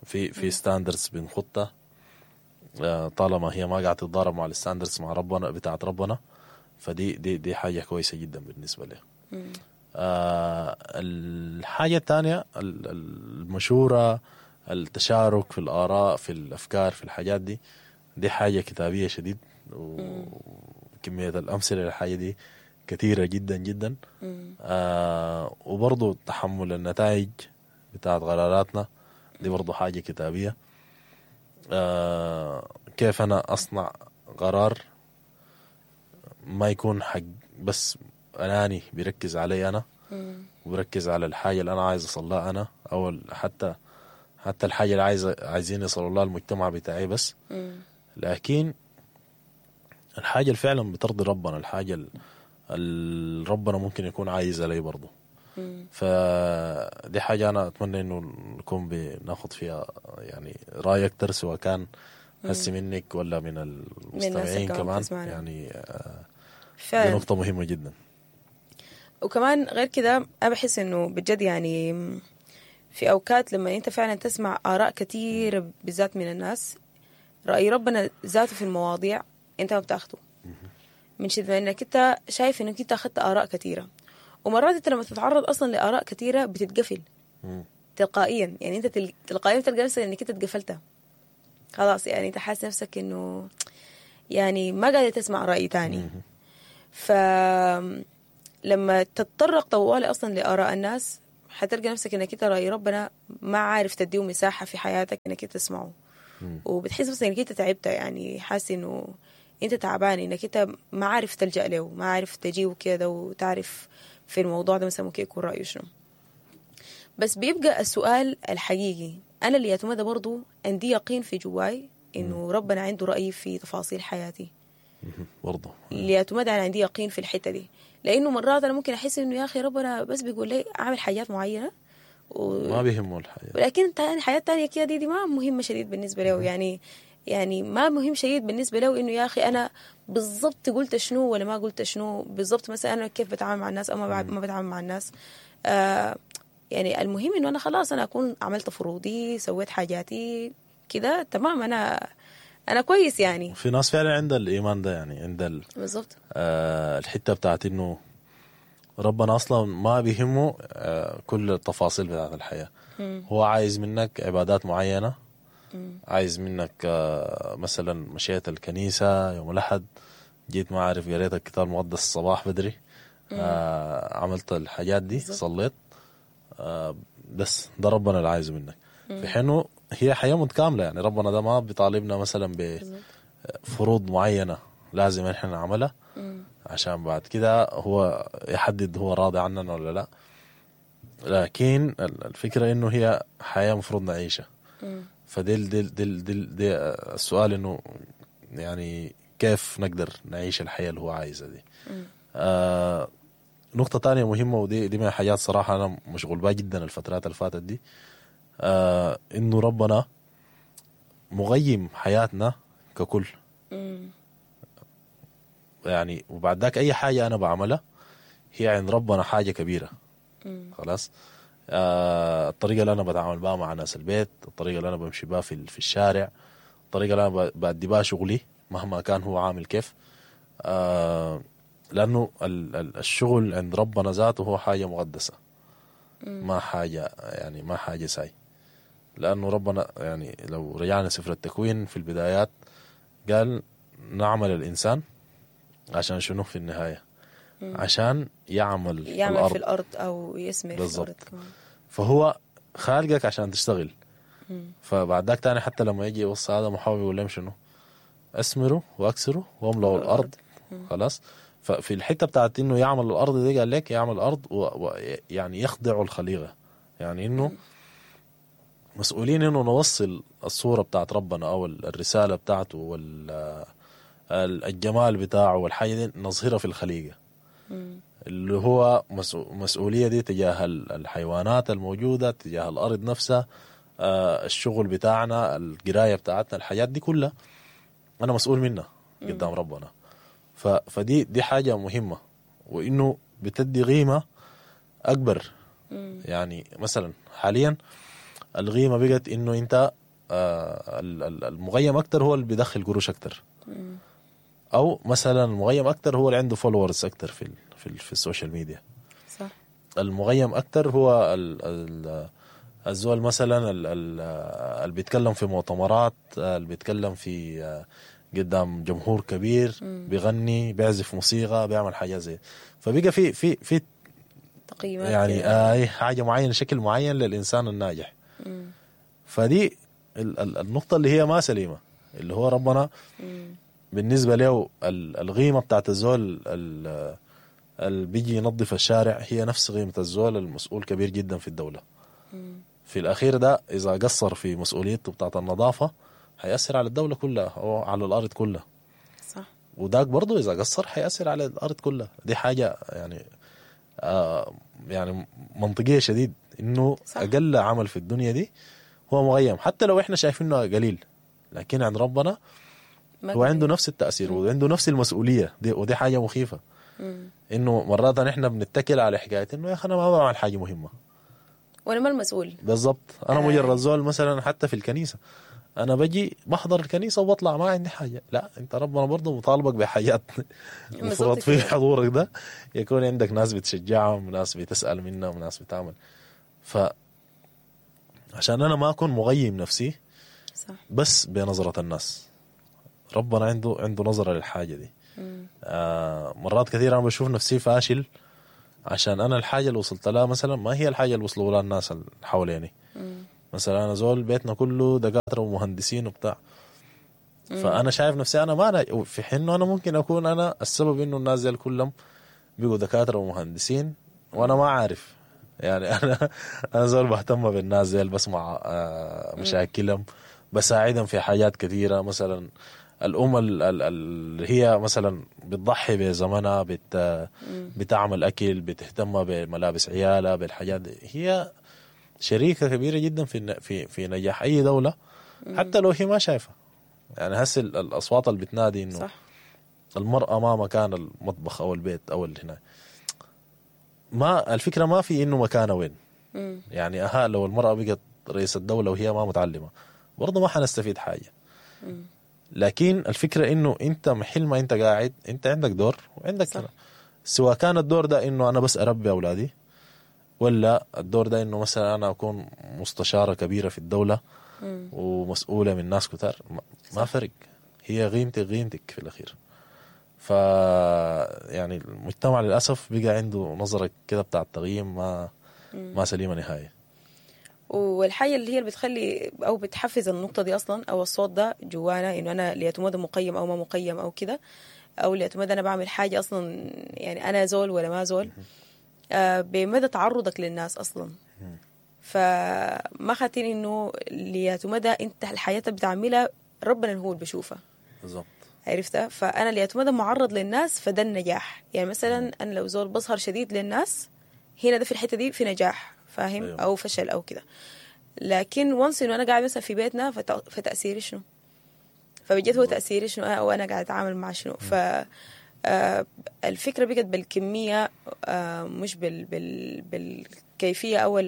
في standards بنخطها، طالما هي ما قاعدة تتضارب مع ال standards مع ربنا بتاعت ربنا، فدي دي دي حاجة كويسة جدا بالنسبة لي. الحاجة الثانية المشورة، التشارك في الآراء، في الأفكار، في الحاجات دي، دي حاجة كتابية شديد، وكمية الأمثلة للحاجة دي كثيرة جدا جدا. وبرضو تحمل النتائج بتاعت قراراتنا دي برضو حاجة كتابية. كيف أنا أصنع قرار ما يكون حق بس أناني بيركز علي أنا، وبركز على الحاجة اللي أنا عايز أصلها أنا، أو حتى الحاجة اللي عايزين يصلوا لها المجتمع بتاعي بس. لكن الحاجة اللي فعلا بترضي ربنا، الحاجة اللي ربنا ممكن يكون عايزها لي برضو. فدي حاجة أنا أتمنى إنه نكون بناخد فيها يعني رأي أكتر، سواء كان هسي منك ولا من المستمعين كمان، يعني دي نقطة مهمة جدا.
وكمان غير كده أنا بحس إنه بجد يعني في أوقات لما أنت فعلا تسمع آراء كتير بالذات من الناس، رأي ربنا ذاته في المواضيع أنت ما بتاخده، من شدة إنك أنت شايف إنك أنت أخذت آراء كتيرة. ومرات أنت لما تتعرض أصلا لآراء كتيرة بتتقفل تلقائيا، يعني أنت تلقائيا تلقى نفسك إنك أنت اتقفلتها. خلاص يعني انت حاسس نفسك انه يعني ما قادر تسمع رأي تاني. ف لما تتطرق طوالي اصلا لآراء الناس حتلقى نفسك انك انت رأي ربنا ما عارف تديه مساحة في حياتك انك انت تسمعه. وبتحس مثلا انك انت تعبت، يعني حاسس انه انت تعبان، انك انت ما عارف تلجأ له، ما عارف تجيه كده وتعرف في الموضوع ده مثلا ممكن يكون رأيه شنو. بس بيبقى السؤال الحقيقي انا اللي يتمدى برضو عندي يقين في جواي انه ربنا عنده رأي في تفاصيل حياتي
برضو
اللي انا عندي يقين في الحتة دي، لانه مرات انا ممكن احس انه يا اخي ربنا بس بيقول لي اعمل حاجات معينة
ما بيهمه الحياة،
ولكن حياة تانية كده دي ما مهمة شديد بالنسبة له. يعني ما مهم شديد بالنسبة له انه يا اخي انا بالضبط قلت شنو ولا ما قلت شنو بالضبط، مثلا انا كيف بتعامل مع الناس او ما بتعامل مع الناس. يعني المهم انه انا خلاص انا اكون عملت فروضي، سويت حاجاتي كده تمام، انا كويس يعني.
في ناس فعلا عندها الايمان ده، يعني عند
بالضبط
الحتة بتاعت انه ربنا اصلا ما بيهمه كل التفاصيل بتاعت الحياة. هو عايز منك عبادات معينة، عايز منك مثلا مشيت الكنيسة يوم الاحد، جيت ما عارف قريت الكتاب المقدس الصباح بدري، عملت الحاجات دي، صليت، بس ده ربنا اللي عايزه منك. في حينه هي حياة متكاملة، يعني ربنا ده ما بيطالبنا مثلا بفروض معينة لازم احنا نعملها عشان بعد كده هو يحدد هو راضي عننا ولا لا، لكن الفكرة انه هي حياة مفروض نعيشها. فدي دي دي دي, دي السؤال انه يعني كيف نقدر نعيش الحياة اللي هو عايزها دي. نقطة تانية مهمة، ودي دي من الحاجات صراحة أنا مشغول بها جدا الفترات اللي فاتت دي، إنه ربنا مغيم حياتنا ككل. يعني وبعد ذاك أي حاجة أنا بعملها هي عند ربنا حاجة كبيرة. خلاص، الطريقة اللي أنا بتعامل بها مع ناس البيت، الطريقة اللي أنا بمشي بها في الشارع، الطريقة اللي أنا بأدي بها شغلي مهما كان هو عامل كيف، لأنه الشغل عند ربنا ذاته هو حاجة مقدسة، ما حاجة يعني ما حاجة ساي. لأنه ربنا يعني لو رجعنا سفر التكوين في البدايات قال نعمل الإنسان عشان شنو في النهاية؟ عشان يعمل
في الأرض أو يسمر في الأرض كمان.
فهو خالقك عشان تشتغل. فبعد ذاك تاني حتى لما يجي يوصي هذا محاول يقول لهم شنو؟ أسمروا وأكسروا واملأوا الأرض. خلاص، ففي الحتة بتاعت انه يعمل الارض دي قال لك يعمل الارض ويعني يخضع الخليقة، يعني انه مسؤولين انه نوصل الصورة بتاعت ربنا او الرسالة بتاعته والجمال بتاعه والحاجة دي نظهرها في الخليقة، اللي هو مسؤولية دي تجاه الحيوانات الموجودة، تجاه الارض نفسها، الشغل بتاعنا، القراية بتاعتنا، الحاجات دي كلها انا مسؤول منها قدام ربنا. فدي دي حاجة مهمة، وإنه بتدي قيمة أكبر. يعني مثلا حاليا القيمة بقت إنه أنت المغيم أكتر هو اللي بيدخل قروش أكتر، أو مثلا المغيم أكتر هو اللي عنده followers أكتر في في, في ال social media.
صح.
المغيم أكتر هو الزول مثلا اللي بيتكلم في مؤتمرات، اللي بيتكلم في قدام جمهور كبير، بيغني، بيعزف موسيقى، بيعمل حاجة زي. فبقى في في في
تقييمات
يعني حاجة معينة، شكل معين للإنسان الناجح. فدي النقطة اللي هي ما سليمة، اللي هو ربنا بالنسبة له القيمة بتاعت الزول اللي بيجي ينظف الشارع هي نفس قيمة الزول المسؤول كبير جدا في الدولة. في الأخير ده إذا قصر في مسؤوليته بتاعت النظافة هيأثر على الدولة كلها أو على الأرض كلها.
صح.
وداك برضو إذا قصر هيأثر على الأرض كلها. دي حاجة يعني يعني منطقية شديد، إنه
صح.
أقل عمل في الدنيا دي هو مغيم، حتى لو إحنا شايفينه قليل، لكن عند ربنا هو عنده نفس التأثير وعنده نفس المسؤولية دي، ودي حاجة مخيفة. إنه مرات إحنا بنتكل على حكاية إنه يا أخي أنا ما بعمل حاجة مهمة
وأنا ما المسؤول
بالضبط، أنا مجرد زول مثلا حتى في الكنيسة أنا بجي بحضر الكنيسة وبطلع ما عندي حاجة. لا، أنت ربنا برضه مطالبك بحاجات المفروض في حضورك ده يكون عندك ناس بتشجعهم، ناس بتسأل منهم، ناس بتعمل. ف عشان أنا ما أكون مغيم نفسي،
صح.
بس بنظره الناس. ربنا عنده نظره للحاجة دي. مرات كثير انا بشوف نفسي فاشل عشان انا الحاجة اللي وصلت لها مثلا ما هي الحاجة اللي وصلوا لها الناس اللي حواليني. مثلا انا زول بيتنا كله دكاترة ومهندسين وبتاع، فانا شايف نفسي انا ما أنا، في حين انه انا ممكن اكون انا السبب انه الناس دي كلهم بقوا دكاترة ومهندسين وانا ما عارف. يعني انا زول بهتم بالناس دي، بسمع مشاكلهم، بساعدهم في حاجات كثيرة. مثلا الام اللي هي مثلا بتضحي بزمنها، بتعمل اكل، بتهتم بملابس عيالها، بالحاجات دي، هي شريكه كبيرة جدا في في في نجاح اي دولة، حتى لو هي ما شايفه. يعني هسه الاصوات اللي بتنادي انه
صح.
المراة ما مكان المطبخ او البيت او اللي هنا، ما الفكرة ما في انه مكانها وين. يعني اها لو المراة بقت رئيس الدولة وهي ما متعلمة برضه ما حنستفيد حاجة. لكن الفكرة انه انت محل ما انت قاعد انت عندك دور وعندك
صح.
كلام. سواء كان الدور ده انه انا بس اربي اولادي، ولا الدور ده انه مثلا انا اكون مستشاره كبيرة في الدولة ومسؤولة من ناس كتار، ما فرق، هي قيمتك قيمتك في الاخير. ف يعني المجتمع للاسف بقى عنده نظره كده بتاع التقييم ما سليمة نهائي.
والحاجة اللي هي اللي بتخلي او بتحفز النقطة دي اصلا او الصوت ده جوانا، انه انا ليتمدى مقيم او ما مقيم او كده، او ليتمدى انا بعمل حاجة اصلا، يعني انا زول ولا ما زول، بمدى تعرضك للناس اصلا. فما خاتين انه ليتمدى انت الحياة اللي بتعملها ربنا هو اللي بيشوفها.
بالضبط.
عرفتها؟ فانا ليتمدى معرض للناس فده النجاح. يعني مثلا انا لو زول بظهر شديد للناس هنا، ده في الحتة دي في نجاح، فاهم؟
أيوة.
او فشل او كده. لكن once انه انا قاعد مثلا في بيتنا فتاثيري شنو؟ فبجد هو تاثيري شنو او انا قاعد اتعامل مع شنو؟ ف الفكرة بقت بالكمية، مش بالكيفية او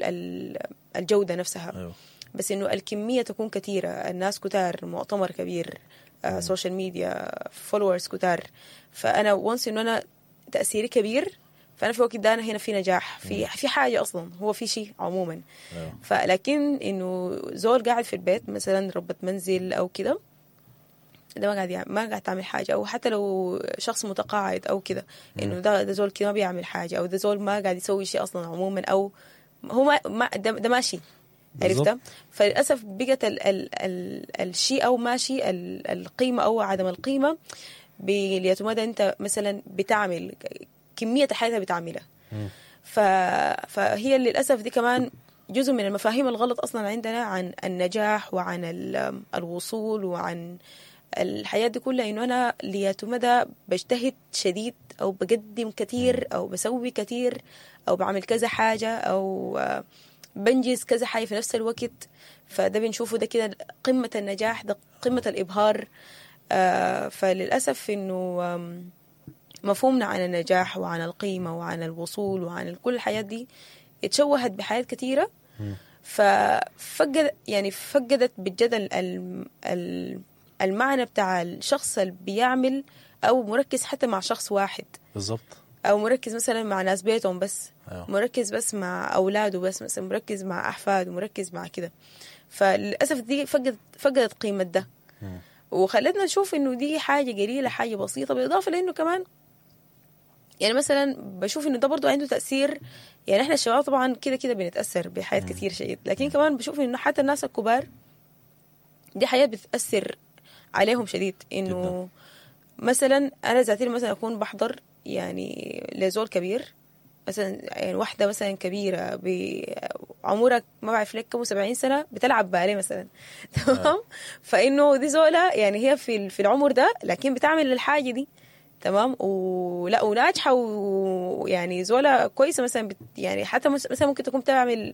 الجودة نفسها.
أيوة.
بس انه الكمية تكون كثيرة، الناس كتار، مؤتمر كبير، social media، followers كتار. فانا once انه انا تاثيري كبير، فانا في الوقت ده انا هنا في نجاح، في حاجة اصلا، هو في شيء عموما.
أيوة.
فلكن انه زول قاعد في البيت مثلا ربة منزل او كده، ده ما قاعد ما قاعد تعمل حاجة. او حتى لو شخص متقاعد او كده، انه ده زول كده ما بيعمل حاجة، او ده زول ما قاعد يسوي شيء اصلا عموما، او هو ما ده ماشي.
بالضبط.
عرفتها؟ فللاسف بقت ال ال ال الشيء او ماشي القيمة او عدم القيمة باليتمدى انت مثلا بتعمل كمية الحاجات اللي بتعملها. فهي للاسف دي كمان جزء من المفاهيم الغلط اصلا عندنا عن النجاح وعن الوصول وعن الحياة دي كلها، انه انا ليتمدى بجتهد شديد او بقدم كثير او بسوي كثير او بعمل كذا حاجة او بنجز كذا حاجة في نفس الوقت. فده بنشوفه ده كده قمة النجاح، ده قمة الإبهار. فللأسف إنه مفهومنا عن النجاح وعن القيمة وعن الوصول وعن كل الحياة دي اتشوهت بحياة كثيرة. ففقد يعني فقدت بجد المعنى بتاع الشخص اللي بيعمل أو مركز حتى مع شخص واحد.
بالضبط.
أو مركز مثلا مع ناس بيتهم بس.
أيوه.
مركز بس مع أولاده بس، مثلا مركز مع أحفاده، مركز مع كده. فللأسف دي فقدت قيمة ده، وخلتنا نشوف إنه دي حاجة قليلة، حاجة بسيطة. بالإضافة لأنه كمان يعني مثلا بشوف إنه ده برضو عنده تأثير. يعني إحنا الشباب طبعا كده كده بنتأثر بحياة كتير شديد، لكن كمان بشوف إنه حتى الناس الكبار دي حياة بتأثر عليهم شديد. إنه مثلا أنا ذاتي مثلا أكون بحضر يعني لزول كبير مثلا، يعني واحدة مثلا كبيرة بعمرك ما بعرف لك كم 70 سنة بتلعب باليه مثلا، تمام؟ فإنه دي زولة يعني هي في العمر ده لكن بتعمل الحاجة دي، تمام؟ ولا وناجحة، ويعني زولة كويسة مثلا، يعني حتى مثلا ممكن تكون بتعمل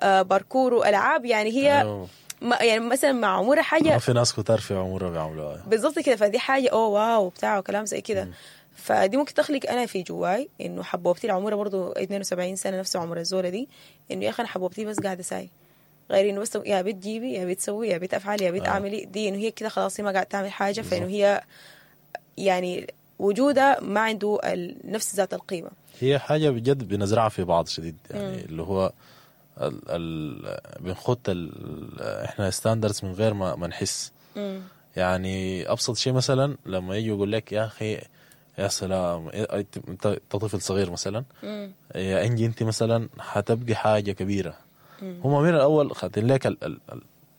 باركور وألعاب، يعني هي
أيوه.
ما يعني مثلا مع عمرها حاجة،
ما في ناس كتار في عمرها بيعملوها
بالضبط كده. فدي حاجة أوه wow بتاع وكلام زي كده. فدي ممكن تخلق انا في جواي انه حبوبتي العمرة برضو 72 سنة نفس عمر الزوله دي، انه يا اخي انا حبوبتي بس قاعدة ساي، غير انه بس يا بت جيبي يا بت سوي يا بت افعلي يا بت اعملي دي، انه هي كده خلاص هي ما قاعدة تعمل حاجة. فانه هي يعني وجودها ما عنده نفس ذات القيمة.
هي حاجة بجد بنزرعها في بعض شديد، يعني اللي هو ال بنخط احنا standards من غير ما نحس. يعني ابسط شيء مثلا لما يجي يقول لك يا اخي يا سلام، انت طفل صغير مثلا، يا انجي انت مثلا حتبقي حاجة كبيرة. هم من الاول خاتين لك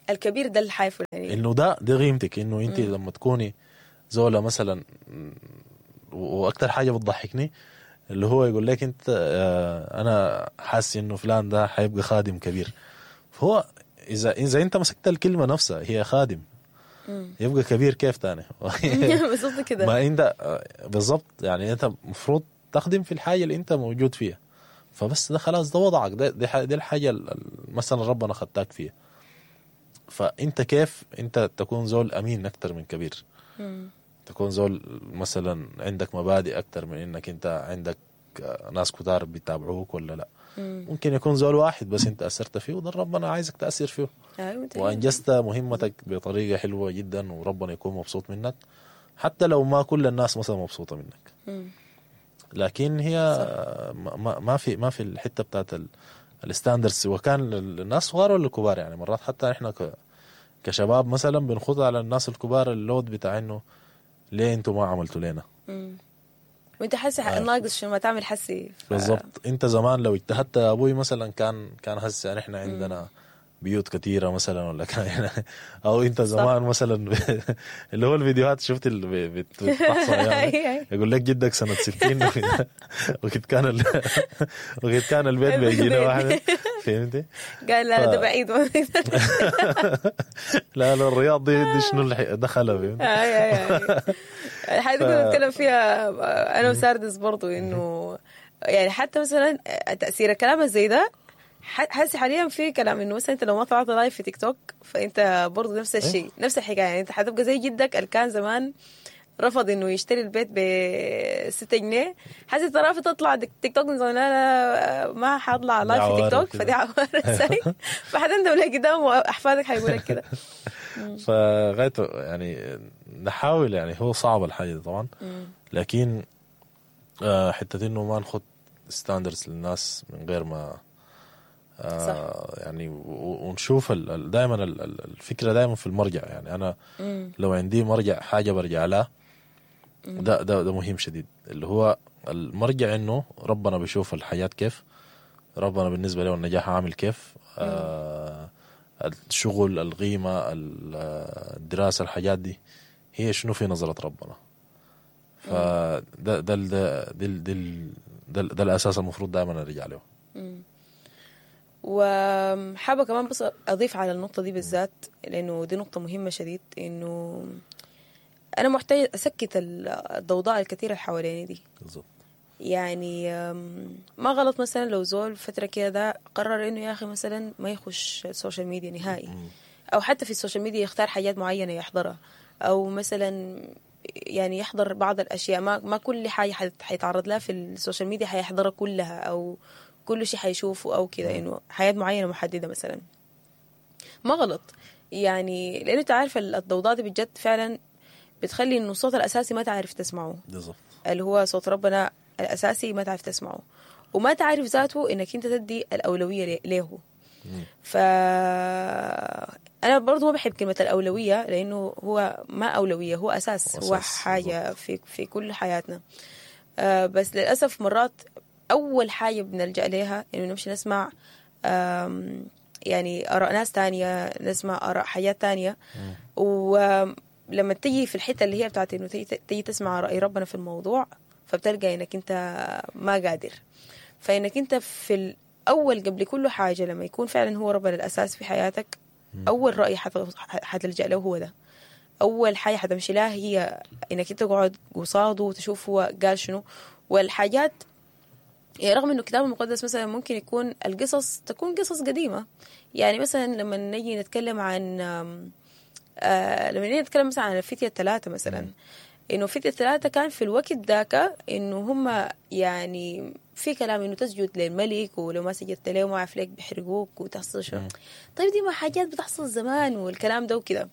الكبير ده الحاجة الفلانية،
انه ده دي قيمتك، انه انت لما تكوني زوله مثلا. واكثر حاجة بتضحكني اللي هو يقول لك انت انا حاسس انه فلان ده حيبقى خادم كبير. فهو اذا انت مسكت الكلمة نفسها هي خادم، يبقى كبير كيف تاني؟
بالضبط كده.
ما انت بالضبط، يعني انت المفروض تخدم في الحاجة اللي انت موجود فيها، فبس ده خلاص ده وضعك، ده دي الحاجة مثلا ربنا خدتك فيها. فانت كيف انت تكون زول امين اكتر من كبير، تكون زول مثلا عندك مبادئ اكتر من انك انت عندك ناس كتار بيتابعوك ولا لا. ممكن يكون زول واحد بس انت اثرت فيه، وده ربنا عايزك تاثر فيه، وانجزت مهمتك بطريقة حلوة جدا، وربنا يكون مبسوط منك حتى لو ما كل الناس مثلا مبسوطة منك. لكن هي ما في الحتة بتاعت ال standards، سواء كان الناس صغار ولا الكبار. يعني مرات حتى احنا كشباب مثلا بنخوض على الناس الكبار ال load بتاع انه ليه انتوا ما عملتوا لنا،
وانت حاسس ناقص شنو ما تعمل حسي.
بالضبط. انت زمان لو اجتهدت يا ابوي مثلا كان هسه يعني احنا عندنا بيوت كثيرة مثلا، ولا كان او انت زمان مثلا اللي هو الفيديوهات شفت اللي بتحصل يعني يقول لك جدك سنة 60 وقت كان البيت بيجينا واحد، فهمتي؟
قال لا ده بعيد.
لا لا الرياض دي شنو اللي دخلها، فهمتي؟
الحاجة دي كنا بنتكلم فيها انا وساردس برضو، انه يعني حتى مثلا تاثير الكلام زي ده حاسس حاليا في كلام انه مثلا انت لو ما طلعت live في تيك توك فانت برضه نفس الشيء، نفس الحكاية. يعني انت حتبقى زي جدك اللي كان زمان رفض انه يشتري البيت ب 6 جنيه، حاسس انت رافض تطلع تيك توك، لا لا ما حاطلع live في تيك توك، فدي عوارة ساي، فحتندم لقدام واحفادك حيقول لك كده.
فغايته يعني نحاول، يعني هو صعب الحاجة دي طبعا، لكن حتة انه ما نخط standards للناس من غير ما صح. يعني ونشوف دائما الفكرة دائما في المرجع. يعني انا لو عندي مرجع حاجة برجع لها، ده ده ده مهم شديد، اللي هو المرجع انه ربنا بيشوف الحياة كيف، ربنا بالنسبة له النجاح عامل كيف، الشغل، القيمة، الدراسة، الحاجات دي هي شنو في نظره ربنا. فده ده ده ده, ده, ده, ده الاساس المفروض دائما نرجع له.
وحابة كمان بس أضيف على النقطة دي بالذات، لأنه دي نقطة مهمة شديد، إنه أنا محتاجة أسكت الضوضاء الكثيرة اللي حواليني دي.
بالضبط.
يعني ما غلط مثلا لو زول فترة كده ده قرر إنه يا أخي مثلا ما يخش ال social media نهائي، أو حتى في ال social media يختار حاجات معينة يحضرها، أو مثلا يعني يحضر بعض الأشياء، ما كل حاجة حيتعرض لها في ال social media حيحضرها كلها، أو كل شيء حيشوفه أو كده، إنه حياة معينة محددة مثلا. ما غلط يعني، لأنه أنت عارف الضوضاء دي بجد فعلا بتخلي إنه الصوت الأساسي ما تعرف تسمعه.
بالضبط.
اللي هو صوت ربنا الأساسي ما تعرف تسمعه، وما تعرف ذاته إنك أنت تدي الأولوية له. فأنا برضو ما بحب كلمة الأولوية، لأنه هو ما أولوية، هو أساس، هو حاجة في كل حياتنا. بس للأسف مرات أول حاجة بنلجأ لها إنه نمشي نسمع يعني آراء ناس تانية، نسمع آراء حاجات تانية. ولما تيجي في الحتة اللي هي بتاعت إنه تيجي تسمع رأي ربنا في الموضوع، فبتلقى إنك أنت ما قادر. فإنك أنت في الأول قبل كل حاجة لما يكون فعلا هو ربنا الأساس في حياتك، أول رأي حتلجأ له هو ده، أول حاجة حتمشي لها هي إنك أنت تقعد قصاده وتشوف هو قال شنو. والحاجات يعني رغم انه الكتاب المقدس مثلا ممكن يكون القصص تكون قصص قديمة، يعني مثلا لما نجي نتكلم عن لما نجي نتكلم مثلا عن الفتية الثلاثة مثلا، انه الفتية الثلاثة كان في الوقت ذاك انه هم يعني في كلام انه تسجد للملك، ولو ما سجدت له ما عارف لك بيحرقوك وتحصل شنو. طيب دي ما حاجات بتحصل زمان والكلام ده وكده،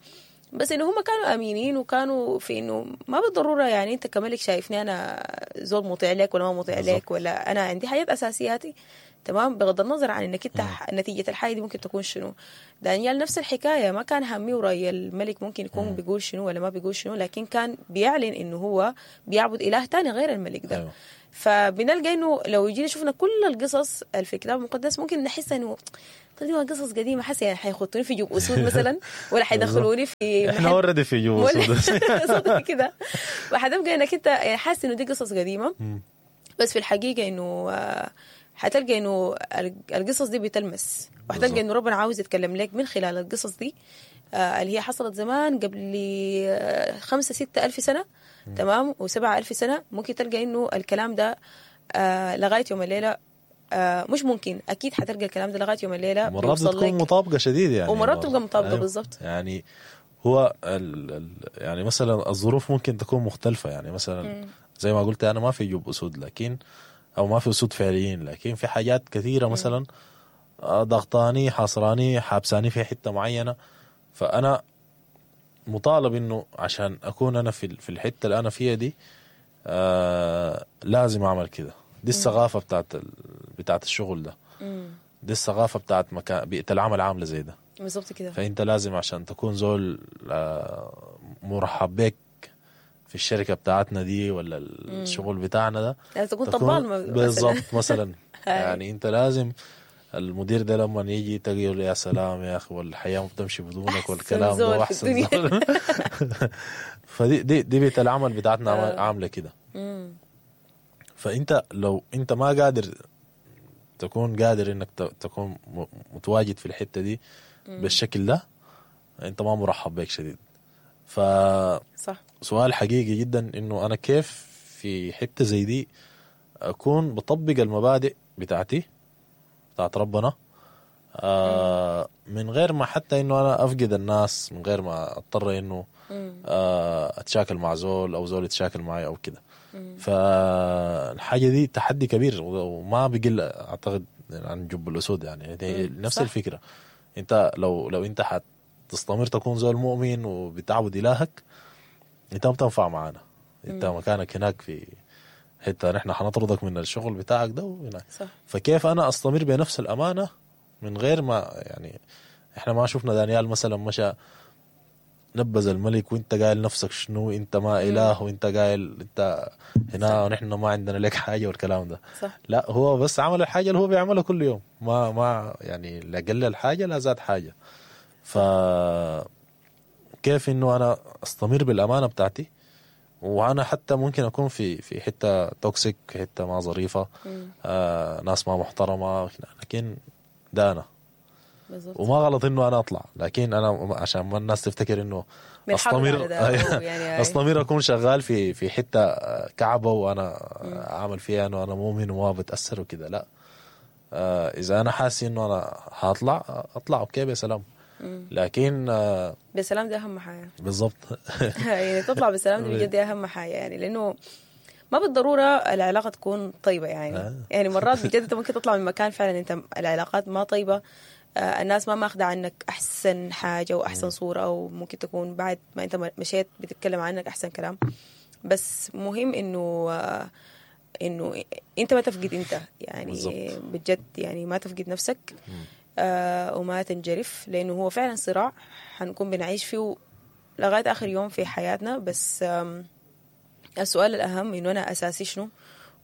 بس انه هم كانوا امينين، وكانوا في انه ما بالضرورة يعني انت كملك شايفني انا زول مطيع لك ولا ما مطيع لك، ولا انا عندي حاجات اساسياتي تمام، بغض النظر عن انك انت نتيجة الحاجة دي ممكن تكون شنو. دانيال نفس الحكاية، ما كان همي ورأي الملك ممكن يكون بيقول شنو ولا ما بيقول شنو، لكن كان بيعلن انه هو بيعبد اله تاني غير الملك ده.
أيوة.
فبنلقى انه لو جينا شفنا كل القصص اللي في الكتاب المقدس ممكن نحس انه طيب دي قصص قديمة، حاسه يعني حيخطوني في جوب اسود مثلا، ولا حيدخلوني في
احنا already في جوب اسود
صدق كده. وحتبقى انك انت يعني حاسس انه دي قصص قديمة، بس في الحقيقة انه حتلقى انه القصص دي بتلمس، وحتلقى انه ربنا عاوز يتكلم لك من خلال القصص دي اللي هي حصلت زمان قبل 5-6 ألف سنة، تمام، و7 ألف سنة. ممكن تلقى انه الكلام ده لغاية يوم الليلة، مش ممكن، اكيد حتلقى الكلام ده لغاية يوم الليلة.
مرات بتكون مطابقه شديد يعني،
ومرات تبقى مطابقه. أيوه. بالضبط.
يعني هو يعني مثلا الظروف ممكن تكون مختلفة، يعني مثلا زي ما قلت انا ما في جوب اسود، لكن او ما في اسود فعليين، لكن في حاجات كثيرة مثلا ضغطاني، حاصراني، حابساني في حتة معينة، فانا مطالب انه عشان اكون انا في الحتة اللي انا فيها دي لازم اعمل كده. دي الثقافة بتاعت الشغل ده، دي الثقافة بتاعت مكان بيئة العمل عامله زي ده
بالضبط كده.
فانت لازم عشان تكون زول مرحب بك في الشركة بتاعتنا دي ولا الشغل بتاعنا ده،
لازم تكون طبال
بالضبط مثلا. يعني انت لازم المدير ده لما يجي تقول يا سلام يا اخي، والحياة ما بتمشي بدونك والكلام ده، واحسن زول. فدي دي دي بيئة العمل بتاعتنا عامله كده. فانت لو انت ما قادر تكون قادر انك تكون متواجد في الحتة دي بالشكل ده، انت ما مرحب بك شديد. ف
صح.
سؤال حقيقي جدا انه انا كيف في حتة زي دي اكون بطبق المبادئ بتاعتي بتاعت ربنا من غير ما حتى انه انا افقد الناس، من غير ما اضطر انه اتشاكل مع زول او زول يتشاكل معي او كده. فالحاجه دي تحدي كبير وما بقل اعتقد عن جب الاسود، يعني نفس صح. الفكرة. انت لو انت حتستمر تكون زول مؤمن وبتعبد الهك، انت ما بتنفع معانا، انت مكانك هناك في حتة نحن حنطردك من الشغل بتاعك ده وهناك. فكيف انا استمر بنفس الامانة من غير ما، يعني احنا ما شفنا دانيال مثلا مشى نبذ الملك وانت قايل نفسك شنو، انت ما اله، وانت قايل انت هنا ونحن ما عندنا لك حاجة والكلام ده.
صح.
لا، هو بس عمل الحاجة اللي هو بيعملها كل يوم، ما يعني لا قلل حاجة لا زاد حاجة. ف كيف انه انا استمر بالامانة بتاعتي، وانا حتى ممكن اكون في حتة toxic، حتة ما ظريفة، ناس ما محترمه، لكن ده انا.
بالزبط.
وما غلط انه انا اطلع، لكن انا عشان ما الناس تفتكر انه استمر
يعني
استمر اكون شغال في حتة كعبه وانا اعمل فيها انه انا مؤمن وما بتاثر وكده، لا. اذا انا حاسس انه انا هطلع اطلع، okay بسلام. لكن
بسلام دي اهم حاجة.
بالضبط.
يعني تطلع بسلام دي بجد اهم حاجة، يعني لانه ما بالضرورة العلاقة تكون طيبة يعني. يعني مرات بجد انت ممكن تطلع من مكان فعلا انت العلاقات ما طيبة، الناس ما ماخذه عنك احسن حاجة واحسن صوره، وممكن تكون بعد ما انت مشيت بتتكلم عنك احسن كلام، بس مهم انه انت ما تفقد انت يعني.
بالزبط.
بجد يعني ما تفقد نفسك وما تنجرف، لانه هو فعلا صراع حنكون بنعيش فيه لغاية اخر يوم في حياتنا. بس السؤال الاهم انه انا اساسي شنو،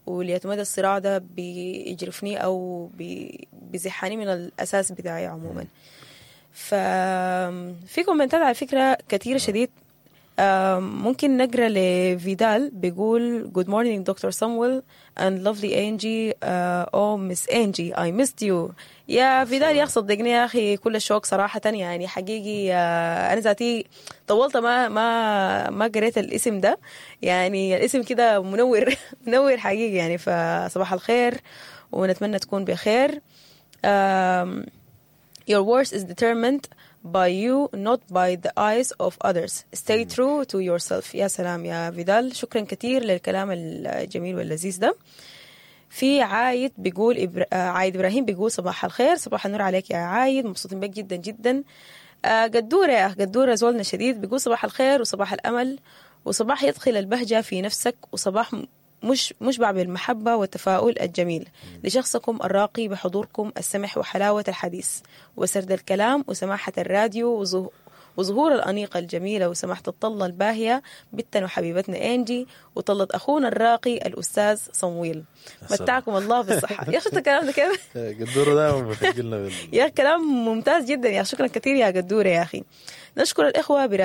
وليتمدى الصراع ده بيجرفني أو بيزحني من الأساس بتاعي عموما. ففي كومنتات على فكرة كثيرة شديد، ممكن نقرأ لفيدال بيقول Good morning Dr. Samuel and lovely Angie. Oh Miss Angie I missed you. يا فيدال يا أخي صدقني يا أخي كل الشوق صراحة، يعني حقيقي أنا ذاتي طولت ما قريت الاسم ده، يعني الاسم كده منور منور حقيقي يعني. فصباح الخير ونتمنى تكون بخير. Your worth is determined by you, not by the eyes of others. Stay true to yourself. يا سلام يا فيدال، شكرا كثير للكلام الجميل واللذيذ ده. في عايد بيقول عايد إبراهيم بيقول صباح الخير، صباح النور عليك يا عايد، مبسوطين بك جدا جدا. قدورة يا قدورة زولنا شديد بيقول صباح الخير وصباح الأمل وصباح يدخل البهجة في نفسك وصباح مش مشبع بالمحبة والتفاؤل الجميل لشخصكم الراقي بحضوركم السمح وحلاوة الحديث وسرد الكلام وسماحة الراديو وظهور الأنيقة الجميلة وسماحة الطلة الباهية بنتنا وحبيبتنا إنجي وطلة أخونا الراقي الأستاذ صمويل.
سلام.
متعكم الله بالصحة. يا أخي شفت الكلام ده كيف؟
قدوره دائما بتجلنا
يا كلام ممتاز جدا يا، شكرا كثير يا قدورة يا أخي. نشكر الإخوة براديو.